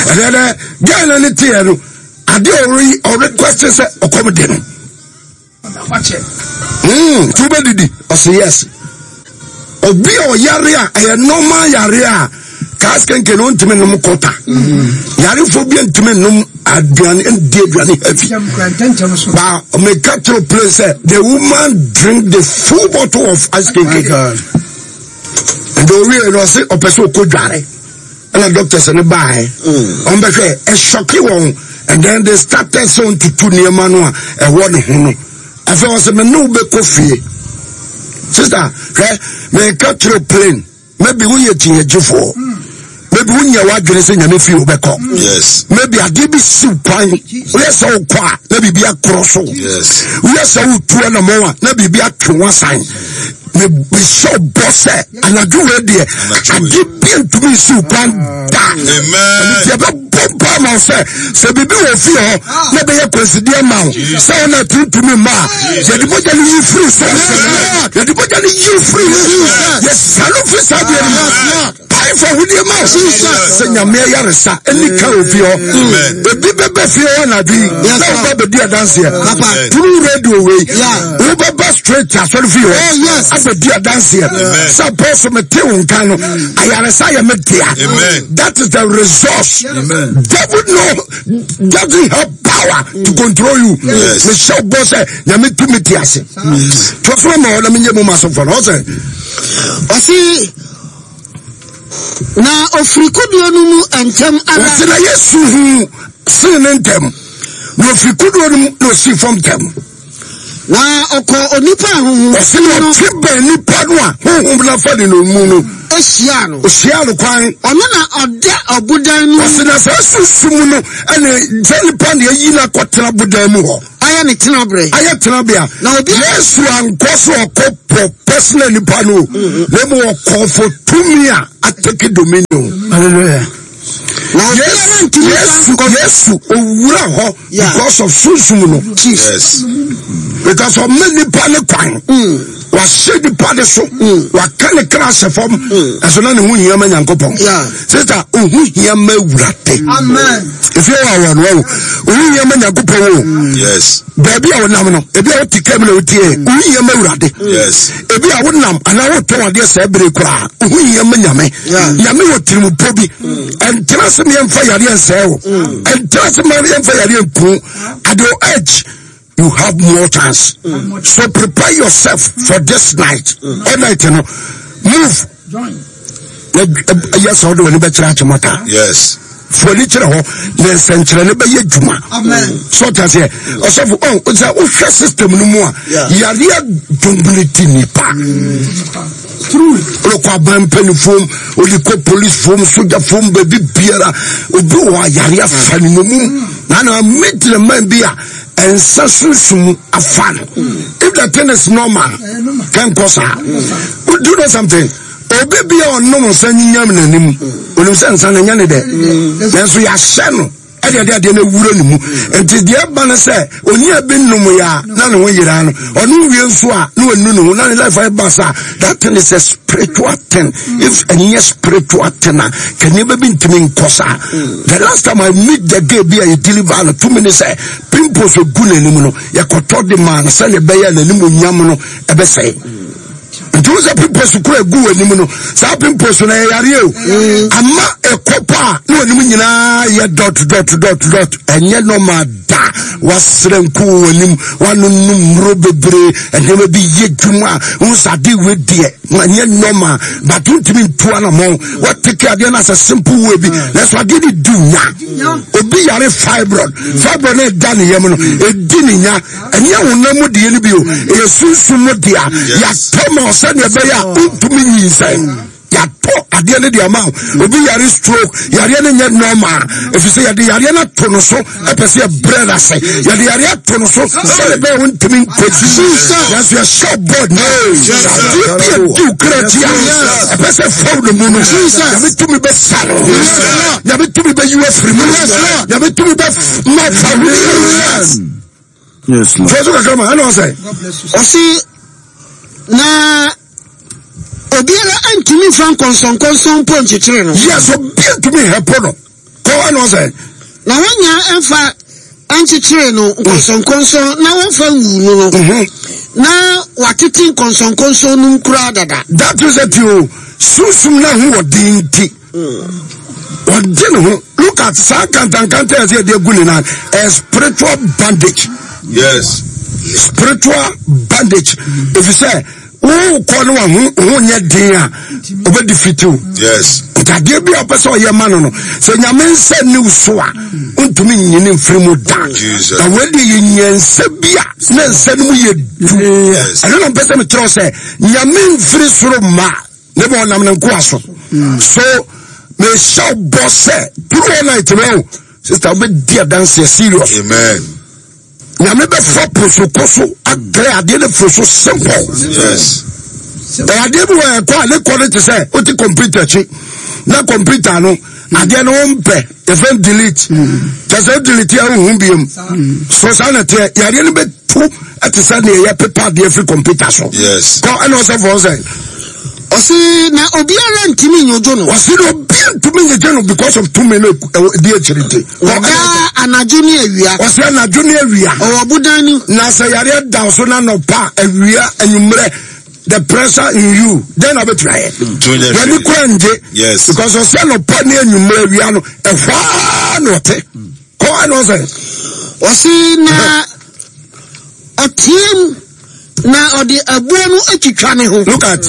Ɛnɛ dɛ gɛɛ no ne teɛ no, adeɛ ɔre ɔrequest sɛ ɔkɔm de no. Nti wobɛdidi? Ɔse yes. Obi a ɔyare a ɛyɛ normal yare a kaas kenke no ntumi nom kɔta. Yarefoɔ bi ntumi nom aduane ndi aduane heavy. Ba meka kyerɛ plane sɛ the woman drink the full bottle of ice kenke. Nti owie no ɔse ɔpɛ sɛ ɔkɔ dware. Ɛna doctors no baeɛ. Wɔn bɛhwɛ ɛhyɔke wɔn and then they started sɛ ɔntutu nneɛma no a ɛwɔ ne ho no. Afei ɔsɛ me ne wo bɛkɔ fie. Sister hwɛ meka kyerɛ plane. Maybe woyɛ kyinnyegyefoɔ. Maybe wonyɛ w'adwene sɛ nyame fie wobɛkɔ. Yes. Maybe adeɛ bi siw kwan. Woyɛ sɛ wokɔ a na biribi akorɔ so. Yes. Woyɛ sɛ wotu anamɔn a na biribi atwe wo asan. Mehyɛ bɔ sɛ anadwo wei deɛ adeɛ bi ntumi nsiw kwan da. Amen. Ɛno nti yɛbɛbɔ mpa ma wo sɛ sɛ biribi wɔ fie hɔ na ɛbɛyɛ kwansideɛ ma wo sɛ wo na tuntumi mma a yɛde mogya no yi firi so. Yɛde mogya no yi firi so. Yɛsane firi saa deɛ no mu. Pae fa ahodeɛ ma wo sɛ nyame ayaresa ɛni ka wɔ fie hɔ. Ebi bɛbɛ fie hɔ anadwo yi na woba bɛdi adanseɛ through radio wei. Wobɛba straight asɔre fie hɔ abɛdi adanseɛ sɛ apɔso mete wo nka no ayaresa yɛ me dea. That is the resource. Devil no doesn't have power to control you. Mehyɛ wo bɔ sɛ nyame tumi te ase. Toa so ma ɔna menyɛ mu ma asɔfoɔ no ɔsɛ. Ɔse na ofiri kodoɔ no mu ntɛm ara. Ɔse na Yesu hu see ne ntɛm na ofiri kodoɔ no mu na osii fam ntɛm. Na ɔkɔɔ onipa a honhom Ɔse na no ɔtwe bɛn nipa no a honhom no afa ne no mu no. hyiaa no. Ɔhyiaa no kwan. Ɔno na ɔda ɔbodan no mu. Ɔse na saa sunsum no ɛne sɛ nipa na ayi no akɔtena bodan mu hɔ. Ɔyɛ Ayɛ ne tenaberɛ. Ayɛ tenabea. Na obiara. Yesu ankɔ so ɔkɔ pɔ personal nipa no o. Na mmom ɔkɔ for tumi a atake dominion. Hallelujah. Na obiara ntumi mfa Yesu nkɔ. Yesu owura hɔ Yeah. because of sunsum no. Yes. Because ɔma nipa ne kwan. Wahyɛ nipa ne so. Waka ne kra ahyɛ fam. Ɛso na ne ho hia ma Nyankopɔn. Yeah. Sister, ohu hia ma Awurade. Amen. Efie wɔ awɔ no o. Ohu hia ma Nyankopɔn o. Yes. Baabi a wonam no, ebi a wote kaa mu na wotie, ohu hia ma Awurade. Yes. Ebi a wonam anaa wotɔn adeɛ saa bere koraa, ohu hia ma Nyame. Nyame wɔ tirimupɔ bi. Ɛntena se meɛmfa yareɛ nsɛe wo. Ɛntena se meɛmfa yareɛ nku. At your age, you have more chance. So prepare yourself for this night. All night, you know. Move. Ɛyɛ sɛ wode w'ani bɛkyerɛ akyemɔta. Yes. Fo ani kyerɛ hɔ na nsɛnkyerɛnne bɛyɛ adwuma. So ɔte aseɛ ɔsɔfo ɔ sɛ wohwɛ system no mu a yareɛ dominate nipa. Wode kɔ aban mpanimfoɔ mu, wode kɔ policefoɔ mu, sogyafoɔ mu, baabi biara obi wɔ a yareɛ afa ne nomum. Na na meet man bi a ɛnsa sunsum afa no. If the thing is normal, kɛnkɔ saa. Do you know something? Obi bi a ɔnom nsa nyinyam n'anim, onim sɛ nsa no ɛnyɛ ne dɛ, nanso yɛahyɛ no ɛde ɛde adeɛ no awura ne mu. Nti deɛ ɛba no sɛ onua bi nom yɛ a na ne ho yera no, ɔno wie nso a na wanu ne ho na ne life ayɛ basa. That thing is a spiritual thing. If ɛnyɛ spiritual thing a, ka nneɛma bi ntumi nkɔ saa. The last time I meet the girl bi a yɛ deliver no, tumi ne sɛ pimples egu n'anim no, yɛkɔtɔ de maa no sɛdeɛ ɛbɛyɛ a n'anim onyam no ɛbɛsɛe. Nti wo sɛ pimples kura egu w'anim no, saa pimples no ɛyɛ yareɛ o. Ama ɛkɔ pa a na w'anim nyinaa yɛ dot dot dot dot. Ɛnyɛ normal da. Wasrɛ nku wɔ w'anim, wanonom nnuro bebree, nneɛma bi yɛ dwuma a wohu sɛ ade wei deɛ ɛnyɛ normal, but wontumi ntu anamɔn. Watake adeɛ no asɛ simple way bi, nanso adeɛ no di nya. Obi yare fibroid, fibroid no ɛda ne yam no, ɛdi ne nya. Ɛnyɛ honam mu deɛ no bi o, ɛyɛ sunsum mu deɛ a yɛatɔ ma wo sɛdeɛ ɛbɛyɛ a wontumi nyinsɛn. Yɛatɔ adeɛ no de ama wo. Obi yare stroke, yareɛ no nyɛ normal, ɛfiri sɛ yɛde yareɛ no ato no so, ɛpɛ sɛ yɛbrɛ no ase. Yɛde yareɛ ato no so sɛdeɛ ɛbɛyɛ a wontumi nkɔgyi. Nanso yɛhyɛ bɔ nnɛ, adeɛ bi a ɛdi wo kra akyi a ɛpɛ sɛ fa wo no mu no, Nyame tumi bɛsa no. Nyame tumi bɛyi wo afiri mu. Nyame tumi bɛma fa wo. Yes, Lord. Fɛ so kakra ma ɛna ɔsɛ. Ɔsi na obiara ntumi nfa nkɔnsɔnkɔnsɔn mpo nkyekyere no. Yes, obiara ntumi hɛpo no. Kɔ ɛna ɔsɛ. Na wɔn nyinaa mfa nkyekyere no nkɔnsɔnkɔnsɔn na wɔmfa nwu no no. Na wɔatete nkɔnsɔnkɔnsɔn no mu koraa dada. That is it o. Sunsum na ho wɔ den nti. Ɔgye ne ho. Look at saa nkantankanta yɛ sɛ yɛde agu ne nan. A spiritual bandage. Yes. Spiritual bandage. Efisɛ wokɔ ne waho ho nyɛ den a ɔbɛ defeat wo. Yes. Nti adeɛ bi a ɔpɛ sɛ ɔyɛ ma no no sɛ nyame nsa nni wo so a wontumi nyini mfiri mu da. Jesus. Na wei deɛ yɛnya nsa bi a na nsa no mu yɛ du. Yes. Ɛno na mpɛ sɛ mekyerɛ wo sɛ nyame mfiri soro mma. Ne ma ɔnam ne nkoa so. So mehyɛ wo bɔ sɛ through all night no sister wobɛdi adanseɛ serious. Amen. Nyame bɛfa prosoko so aklɛ adeɛ no firi so simple. Yes. Ɛyɛ adeɛ bi wɔ ɛkɔ a ne kɔ no te sɛ wote computer akyi na computer no adeɛ no wompɛ yɛfrɛ no delete. Kyɛ sɛ wo delete a wohu biom. So saa na teɛ yareɛ no bɛtu ɛte sɛ deɛ yɛpepa adeɛ firi computer so. Yes. Kɔ ɛna ɔsɛ fɔɔ sɛ. Ɔsi na obiara ntumi nyogyo no. Ɔsi na obiara ntumi nyogyo no because of tumi no ɛdi akyiri nti. Ɔdaa anadwo ne awia. Ɔsi anadwo ne awia. Ɔwɔ bodan no. Na sɛ yareɛ da so na nɔpa awia anwummerɛ the pressure in you then na bɛtumi ayɛ. W'ani kura ngye. Yes. Because ɔsi anɔpa ne anwummerɛ awia no ɛhɔ ara na ɔte. Kɔ ɛna ɔsɛ. Ɔsi na ɔteam. Na ɔde aboɔ no atwitwa ne ho. Look at.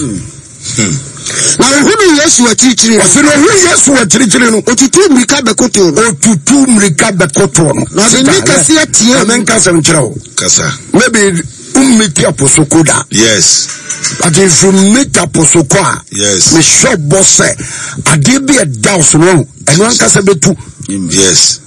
Na ɔhunuu Yesu akyirikyiri no. Ɔsi na ɔhunuu Yesu akyirikyiri no. Otutuu mmirika bɛkotoo no. Otutuu mmirika bɛkotoo no. Na ɔde nne kɛseɛ teaam. Na menka asɛm nkyerɛ wo. Kasa. Maybe wommeti aposoko da. Yes. But if you meet aposoko a. Yes. Mehyɛ bɔ sɛ adeɛ bi ɛda wo so no ɛno ankasa bɛtu. Yes.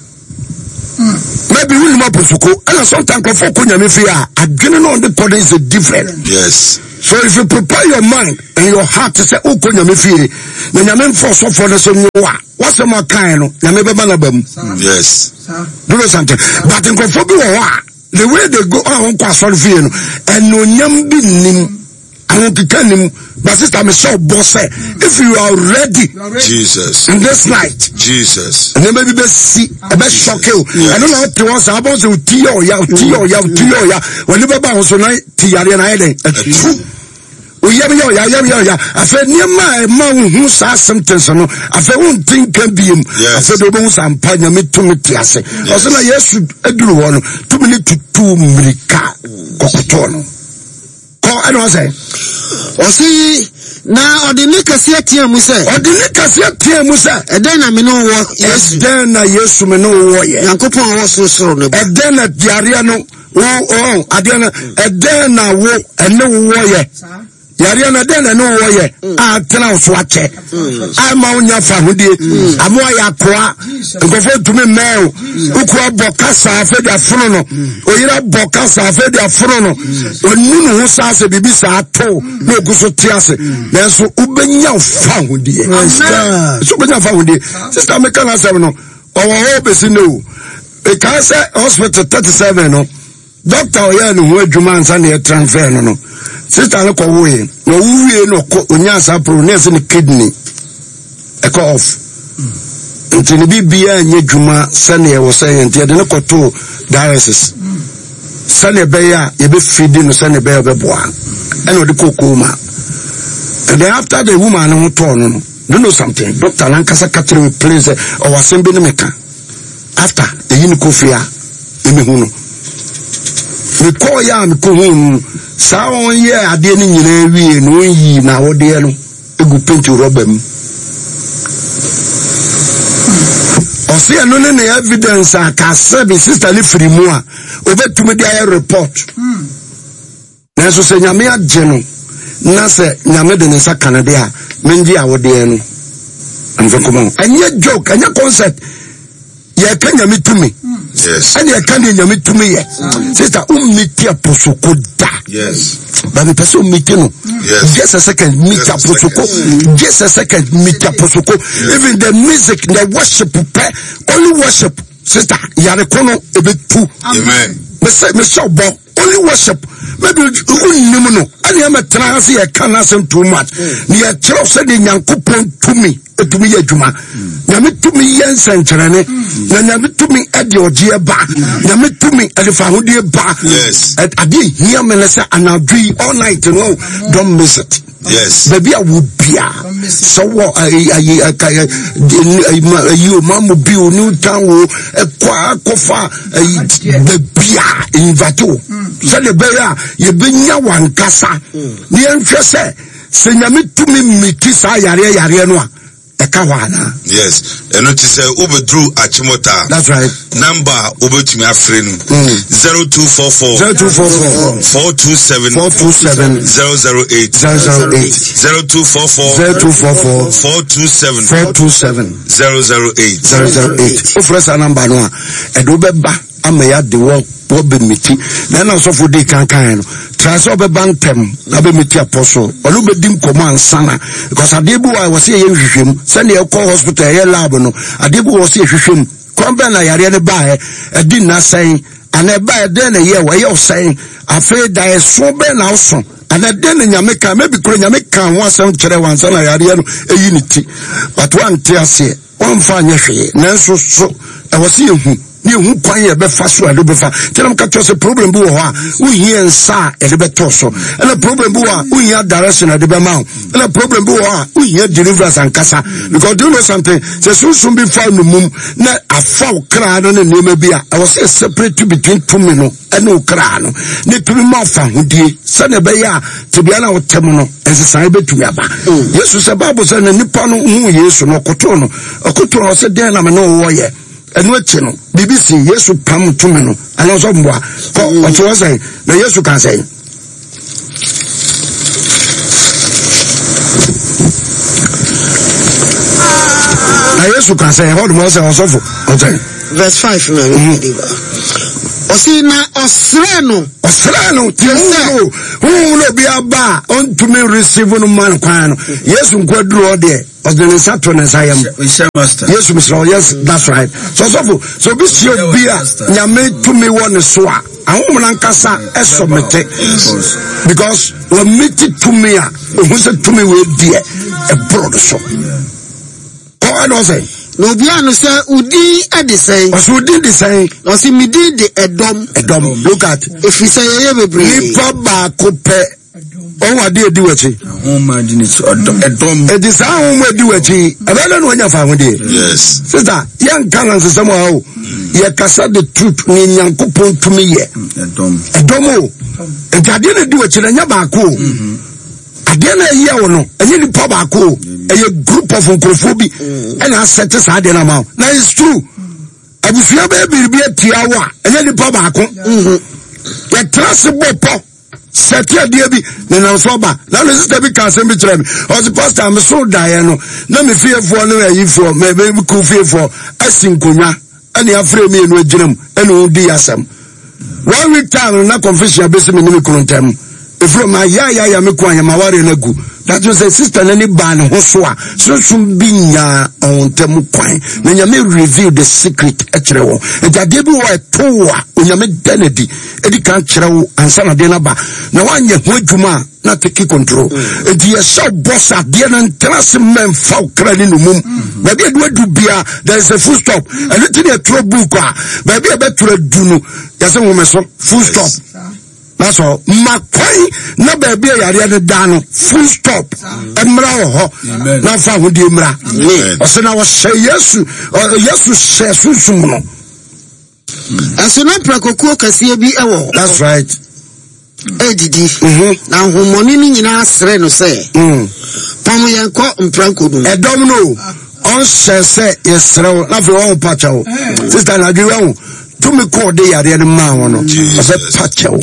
Maybe wonim aposoko ɛna sometimes nkurɔfoɔ kɔ nyame fie a adwene no ɔde kɔ no is a different. Yes. So if you prepare your mind and your heart sɛ wokɔ nyame fie na nyame mfa ɔsɔfoɔ no sɛ nwo a wasɛm akae no nyame bɛba no aba mu. Yes. Do you know something? But nkurɔfoɔ bi wɔ hɔ a the way they go a wɔnkɔ asɔre fie no ɛnuonyam bi nnim ahokeka nnim but sister mehyɛ ɔbɔ sɛ if you are ready Jesus in this night Jesus nneɛma bi bɛsi ɛbɛ sɔke o ɛno na ɔte hɔ saa abɔ sɛ oti yɛ ɔya oti yɛ ɔya oti yɛ ɔya wɔne bɛba ho so na ti yareɛ na ayɛ dɛn atu oyam yɛ ɔya yam yɛ ɔya afei nneɛma a ɛma wohu saa symptoms no afei wonte nka biem afei de wobɛhu sɛ ampa nyame tumi te ase ɔsɛ na yesu aduru hɔ no tumi ne tutu mmirika kɔkɔtɔɔ no kɔ ɛna ɔsɛ ɔse na ɔde ne kɛseɛ teɛ mu sɛ ɔde ne kɛseɛ teɛ mu sɛ ɛdɛn na me ne wɔ yesu ɛdɛn na yesu me ne wɔ yɛ nyankopɔn a ɔwɔ sorosoro no ba ɛdɛn na yareɛ no wo ɔn adeɛ no ɛdɛn na wo ɛne wo wɔ yɛ yareɛ no ɛdɛn na ɛne wo wɔ yɛ a tena wo so akyɛ a ɛma wo nya fahodie ama ayɛ akoa nkurɔfoɔ ntumi mmɛn o wokura bɔ kasa afei de afono no oyere bɔ kasa afei de afono no ɔnu ne ho saa sɛ biribi saa to na ogu so te ase nanso wobɛnya fahodie so wobɛnya fahodie sista meka no asɛm no ɔwɔ hɔ bɛsi ne o ɛkaa sɛ hospital 37 no dɔkta ɔyɛɛ ne ho adwuma ansa na yɛtransfer no no sista no kɔwoe na ɔwo wie na ɔkɔ ɔnyaa saa problem na ɛsɛ ne kidney ɛkɔ off nti ne biribiara nyɛ adwuma sɛnea ɛwɔ sɛ yɛ nti yɛde no kɔtoo dialysis sɛnea ɛbɛyɛ a yɛbɛfidi no sɛnea ɛbɛyɛ ɔbɛboa ɛna ɔde kɔɔ coma and then after the woman no ho tɔɔ no no do you know something doctor nankasa ka kyerɛ me plain sɛ ɔwɔ asɛm bi ne meka after eyi ne kɔ fie a ɛmɛhu no mekɔɔ yɛ a mekɔhu no saa ɔnyɛ adeɛ no nyinaa wie no ɔnyii na awodeɛ no egu penti rɔba mu. Ɔse ɛno ne ne evidence a ka sɛ me sister ne firi mu a obetumi de ayɛ report. Nanso sɛ nyame agye no na sɛ nyame de ne nsa ka no de a mengye awodeɛ no mfa nkɔmɔ. Ɛnyɛ joke, ɛnyɛ concert. Yɛka nyame tumi. Ɛne ɛka deɛ nyame tumi yɛ. Sister, wommiti aposoko da. Yes. But mepɛ sɛ wommiti no. Yes. Just a second, meet aposoko. Just a second, meet aposoko. Even the music, the worship, pɛ, only worship. Sister, yare ko no ebetu. Amen. Mesɛ mesɛ ɔbɔ only worship. Maybe wonnim no. Ɛne ɛmɛ tena ha sɛ yɛka n'asɛm too much. Ne yɛkyerɛw sɛ deɛ Nyankopɔn tumi ɛtumi yɛ adwuma. Nyame tumi yɛ nsɛnkyerɛnne. Na Nyame tumi ɛde ɔgyeɛ ba. Nyame tumi ɛde fahodie ba. Yes. Adeɛ hia me ne sɛ anadwo yi all night no don't miss it. Yes. Baabi a wo bia sɛ wɔ ayi ayi ayi o mamu bi o new town o ɛkɔ akɔfa ayi baabi a invite o sɛdeɛ ɛbɛyɛ a yɛbɛnya wankasa ne yɛnhwɛ sɛ sɛ nyame tumi mmiti saa yareɛ yareɛ no a ɛka hɔ anaa. Yes, ɛno ti sɛ wobɛduru Achimota. That's right. Number a wobɛtumi afrɛ no. 0244. 0244. 427. 427. 008. 008. 0244. 0244. 427. 427. 008. 008. Wofrɛ saa number no a, ɛde wobɛba ama yɛade wɔ wɔbɛmiti na ɛna ɔsɔfo di kankan no tra sɛ ɔbɛba ntɛm na bɛmiti apɔso ɔno bɛdi nkɔmmɔ ansana because adeɛ bi wɔ a wɔ sɛ yɛyɛ nhwehwɛmu sɛdeɛ ɛkɔ hospital ɛyɛ lab no adeɛ bi wɔ sɛ yɛhwehwɛ mu kwan bɛn na yareɛ no baeɛ ɛdi nna sɛn anaa ɛbaeɛ dɛn na ɛyɛ wɔ ɛyɛ ɔsɛn afei da ɛso bɛn na ɔso anaa dɛn na nyame ka maybe kura nyame ka ho asɛm kyerɛ wɔn ansa na yareɛ no ɛyi ne ti but wante aseɛ Wɔmfa anyɛ hwee, nanso so ɛwɔ sɛ yɛhu ne yɛhu kwan yɛ bɛfa so a yɛde bɛfa. Nti na meka kyerɛ sɛ problem bi wɔ hɔ a wohia nsa a yɛde bɛtɔ so, ɛna problem bi wɔ a wohia direction a yɛde bɛma wo, ɛna problem bi wɔ hɔ a wohia deliverance ankasa. Because do you know something? Sɛ sunsum bi fa no mum na afa wo kra no ne nneɛma bi a ɛwɔ sɛ separate between tumi no ɛne wo kra no ne tumi ma afa hodie sɛdeɛ ɛbɛyɛ a tebea no a wote mu no nsesaeɛ bɛtumi aba mm. Yesu sɛ Bible sɛ na nipa no hu Yesu no ɔkoto no ɔkoto no ɔsɛ dɛn na me ne wowɔ yɛ ɛno akyi no biribi si Yesu pam tumi no anaa ɔsɛ mmoa kɔ mm. ɔte hɔ sɛn na Yesu ka sɛn na Yesu ka sɛn ɛhɔ nom ɔsɛ ɔsɔfo ɔsɛn. Verse 5 na mm. Ɔsi na ɔsrɛ no. Ɔsrɛ no ti sɛ huhu na obi aba a ɔntumi receive no ma no kwan no. Yesu nko aduru hɔ deɛ ɔde ne nsa to ne nsa yam. Yesu mesrɛ wo yes that's right. So sɔfo sɛ obi sie obi a nyame tumi wɔ ne so a ahonhom no ankasa ɛsɔ mete because wɔmete tumi a ohun sɛ tumi wɔ deɛ ɛborɔ no so. Kɔ ɛna ɔsɛ. Na obiara no sɛ wo din de sɛn? Ɔsɛ wo din de sɛn? Na ɔsɛ me din de ɛdɔm. Ɛdɔm look at. Efiri sɛ yɛyɛ bebree. Nipa baako pɛ ɔwɔ adeɛ edi w'akyi. Ahoma di n'akyi ɔdɔm ɛdɔm. Eti saa ahoma edi w'akyi ɛbɛyɛ dɛ na wanya fa ahodeɛ. Yes. Sista yɛn nka na nsesɛm wɔ ha o yɛ kasa the truth ne nyankopɔn tumi yɛ. Ɛdɔm. Ɛdɔm o nti adeɛ na edi w'akyi na ɛnyɛ baako o. Mm-hmm. Adeɛ na ɛyɛ wo no ɛnyɛ nipa baako o ɛyɛ group of nkurɔfoɔ bi ɛna asɛte saa adeɛ no ama wo na it's true abusua bɛyɛ biribi atia wo a ɛnyɛ nipa baako yɛtra se bɔ pɔ sɛte adeɛ bi ne nam so aba na me sista bi ka asɛm bi kyerɛ me ɔse pastor me so daeɛ no na me fiefoɔ ne ayifoɔ me me ku fiefoɔ asi nkonnwa ɛne afrɛ mmienu agyina mu ɛne wɔn di asɛm one week time no na confusion abɛsi me ne me kunu ntam ɛfiri ma yayaya me kunu ayɛ ma wareɛ no agu that means sɛ sister no ani baa ne ho so a sunsum bi nyaa ɔn ntam kwan na nyame reveal the secret kyerɛ wɔn nti adeɛ bi wɔ ɛto wo a onyame da no adi ɛdi kan kyerɛ wo ansa na adeɛ no aba na woanyɛ ho adwuma a na take control mm. nti yɛhyɛ bɔ sɛ adeɛ no ntena ase mma mfa wo kra ne nomum mm. baabi a ɛdu bia there is a full stop mm. ɛno nti ne ɛtwerɛ book a baabi a ɛbɛtwerɛ du no yɛsɛ nwome so full stop that's all ma kwan na baabi a yareɛ no da no full stop mmra wɔ hɔ na fa ahodie mmra ɔsɛ na ɔhyɛ yesu yesu hyɛ sunsum no Ɛso na mprakokuo kɛseɛ bi wɔ hɔ. That's right. Ɛredidi. Mm-hmm. Na ahonhommɔne no nyinaa srɛ no sɛ, mm. pam yɛn kɔ mprako no mu. Ɛdɔm no ɔnhyɛ sɛ yɛsrɛ wo na afei ɔho pa kyɛw. Sista anadwo yi wahu tumi kɔ ɔde yareɛ no maa wɔn no ɔsɛ pa kyɛw.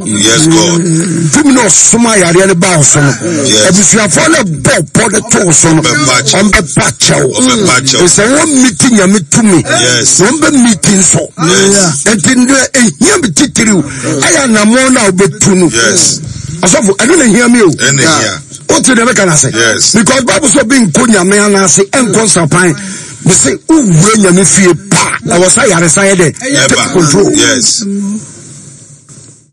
Tumi na ɔsoma yareɛ no baa so no abusuafoɔ no bɔ pɔ de too so no ɔmbɛpa kyɛw. Sɛ wɔn miti nyame tumi wɔn bɛ miti nso nti deɛ ehia mi titiriw ɛyɛ anamɔ no a wobɛtu no ɔsɔfo ɛno na ehia mi o wote deɛ meka no ase because bible sɛ obi nkɔ nyame anaase ɛnkɔ nsapan mese wowura nyame fie pa ɛwɔ sɛ yaresa yɛ dɛ take control yes.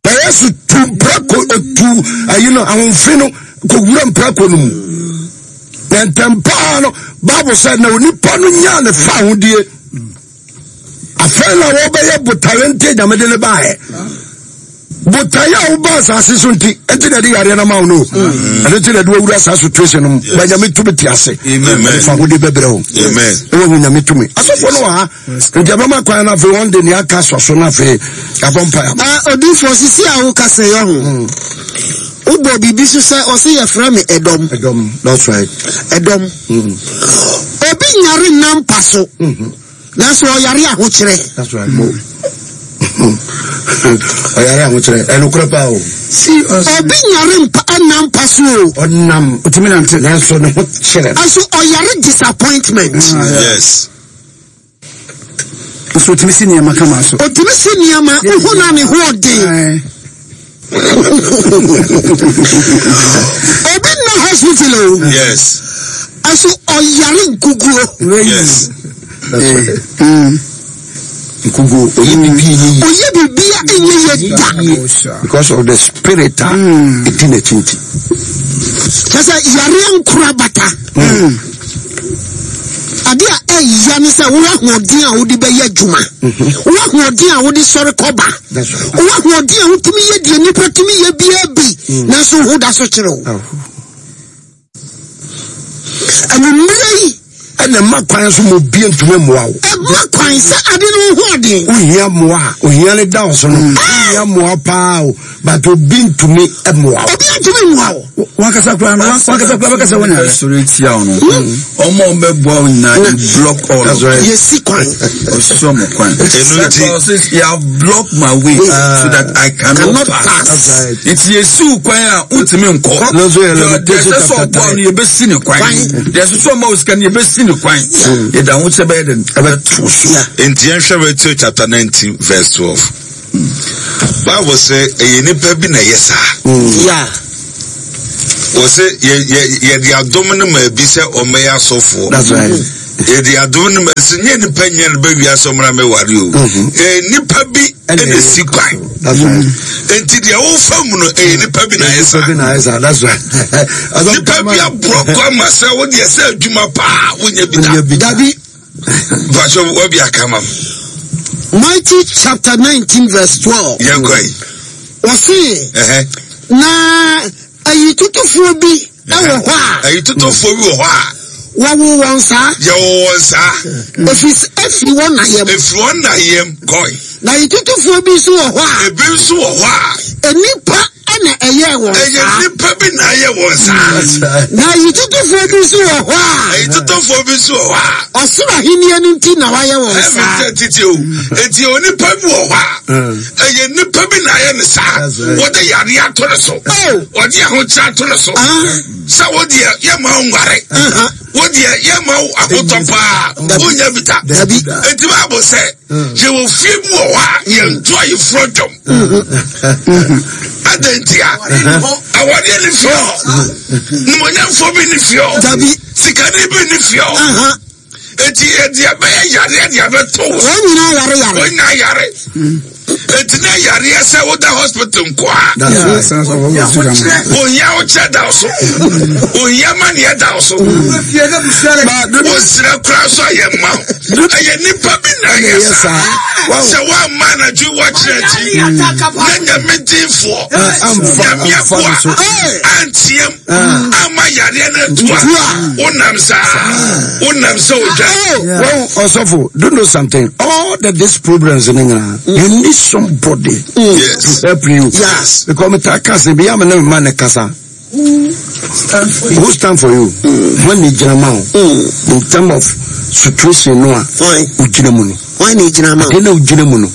Na Yesu tu mprako otu ayi no ahomfi no kɔwura mprako no mu. Na ntɛm paa no Bible sɛ na onipa no nyaa ne fa ahodie. Afei na wɔbɛyɛ botaeɛ nti nyame de ne baeɛ. Botaeɛ a woba asase so nti nti na ɛde yareɛ no ma wo no. Ɛno nti na ɛde wawura saa situation no mu. Ba nyame tumi te ase. Ɛde fa ahodie bɛbrɛ wo. Ɛwɔ hu nyame tumi. Asɔfoɔ no wɔ ha. Nti ɛbɛma kwan no afei wɔn de nea aka sɔ so no afei yɛabɔ mpae ama. Ah, odiifoɔ sisi a woka sɛ yɛ ho hmm. wobɔ biribi so sɛ ɔse yɛfrɛ me ɛdɔm. Ɛdɔm, that's right. Ɛdɔm. Hmm. Obi nyare nna mpa so. Hmm. Nanso ɔyare ahokyerɛ. That's right. Mo. Ɔyare ahokyerɛ ɛnokorɛ paa o. Obi nyare mpa ɛnna mpa so o. Ɔnam otumi nante nanso ne ho kyerɛ. Nanso ɔyare disappointment. Ah, yes. Nso otumi si nneɛma kama so. Otumi si nneɛma ohu na ne ho ɔden. Obi nna hospital o. Yes. Ɛso ɔyare nkuguo. Yes. Mm. Nkuguo oyɛ bibi nye yie. Oyɛ bibi a enye yie da. Because of the spirit a mm. edi n'akyi nti. Kyɛ sɛ yareɛ nkora bata. Mm. Ade a ɛya ne sɛ wowɔ ahoɔden a wode bɛyɛ adwuma. Mhm. Wowɔ ahoɔden a wode sɔre kɔba. Wowɔ ahoɔden a wotumi yɛ deɛ nnipa tumi yɛ biara bi. Mm. Nanso wo ho da so kyerɛ wo. Oh. Anwummerɛ yi. Ɛna ɛma kwan so ma obi ntumi mmoa wo. Ɛma kwan sɛ ade no ho ɔden. Wohia mmoa a ohia no da wo so no. Mm. Wohia mmoa paa o but obi ntumi mmoa wo. Obi ntumi mmoa wo. Wankasa koraa no wankasa koraa bɛkasa wo nyare. Sɔrɔ etia wo no. Ɔmo a ɔmo bɛboa wo nyinaa you block all of them. Yɛsi kwan. Ɔsi ɔmo kwan. Ɛnu ti. Because you have blocked my way so that I cannot pass. Nti yɛsi wo kwan a wontumi nkɔ. Deɛ ɛsɛ sɛ ɔboa no yɛbɛsi ne kwan. Deɛ ɛsɛ sɛ ɔma wo sika no yɛbɛsi Yɛsi ne kwan. Yɛde ahokyerɛ bɛyɛ dɛn? Ɛbɛto so. Nti yɛnhwɛ Matthew chapter 19 verse 12. Bible sɛ ɛyɛ nipa bi na ɛyɛ saa. Yeah. Wɔ sɛ yɛ yɛ yɛde adom no ma bi sɛ ɔmmɛyɛ asɔfoɔ. That's right. Yɛde adom no ma sɛ nyɛ nipa nyɛ no bɛ wiase ɔmmra mɛware o. Mm-hmm. Ɛyɛ nipa bi ɛna si kwan. That's right. Nti deɛ wofa mu no ɛyɛ nipa bi na ayɛ saa. Nipa bi na ayɛ saa. That's right. Nipa bi aborɔ kɔ ama sɛ wo deɛ sɛ adwuma paa wonya bi da. Dabi. Mpatsɔ wabi aka ma m. Matthew chapter 19 verse 12. Yɛn kɔ yi. Wɔsi. Na ayitutufoɔ bi wɔ hɔ a. Ayitutufoɔ bi wɔ hɔ a. Wɔwo wɔn saa. Yɛwo wɔn saa. Efi efiri wɔn na yam. Efiri wɔn na yam kɔe. Na ayitutufoɔ bi nso wɔ hɔ a. Ebi nso wɔ hɔ a. Nnipa na ɛyɛɛ wɔn saa. Ɛyɛ nnipa bi na ayɛ wɔn saa. Na ayitutufoɔ bi nso wɔ hɔ a. Ayitutufoɔ bi nso wɔ hɔ a. Ɔsoro ahenni no nti na wɔayɛ wɔn saa. Ɛmi sɛ titi o. Eti onipa bi wɔ hɔ a. Ɛyɛ nnipa bi na ayɛ ne saa. Wɔde yadeɛ ato ne so. Wɔde ahokyere ato ne so. Sɛ wo deɛ yɛ ma nware. Wo deɛ yɛ ma ahotɔ paa. Wonya bi da. Eti baabu sɛ yɛwɔ fie bi wɔ hɔ a yɛnto ayeforɔ dwom. Adɛn ntia? Awadeɛ ne fie hɔ. Nimonyamfoɔ bi ne fie hɔ. Sikani bi ne fie hɔ. Eti yɛde abɛyɛ yareɛ de abɛto wo. Wɔn nyinaa yare yare. Wɔn nyinaa yare. Eti na yareɛ sɛ woda hospital nkoa. Ohia wokyɛ da so. Ohia maneɛ da so. Wosrɛ kora so ayɛ mma wo. Ɛyɛ nipa bi na ɛyɛ saa. Sɛ woamma anadwo wɔkyerɛ akyi na nyame dinfoɔ nyame akoa anteam amma yareɛ no atu a wonam saa wonam sɛ odwa. Well, Osofo, do you know something? All the these problems in England, you need somebody yes. to help you. Yes. Because me ta kasa, bi am na me man kasa. Who stand for you? When ni gyina ma wo. In term of situation no a, ogyina mu no. When ni gyina ma wo. Ade na ogyina mu no.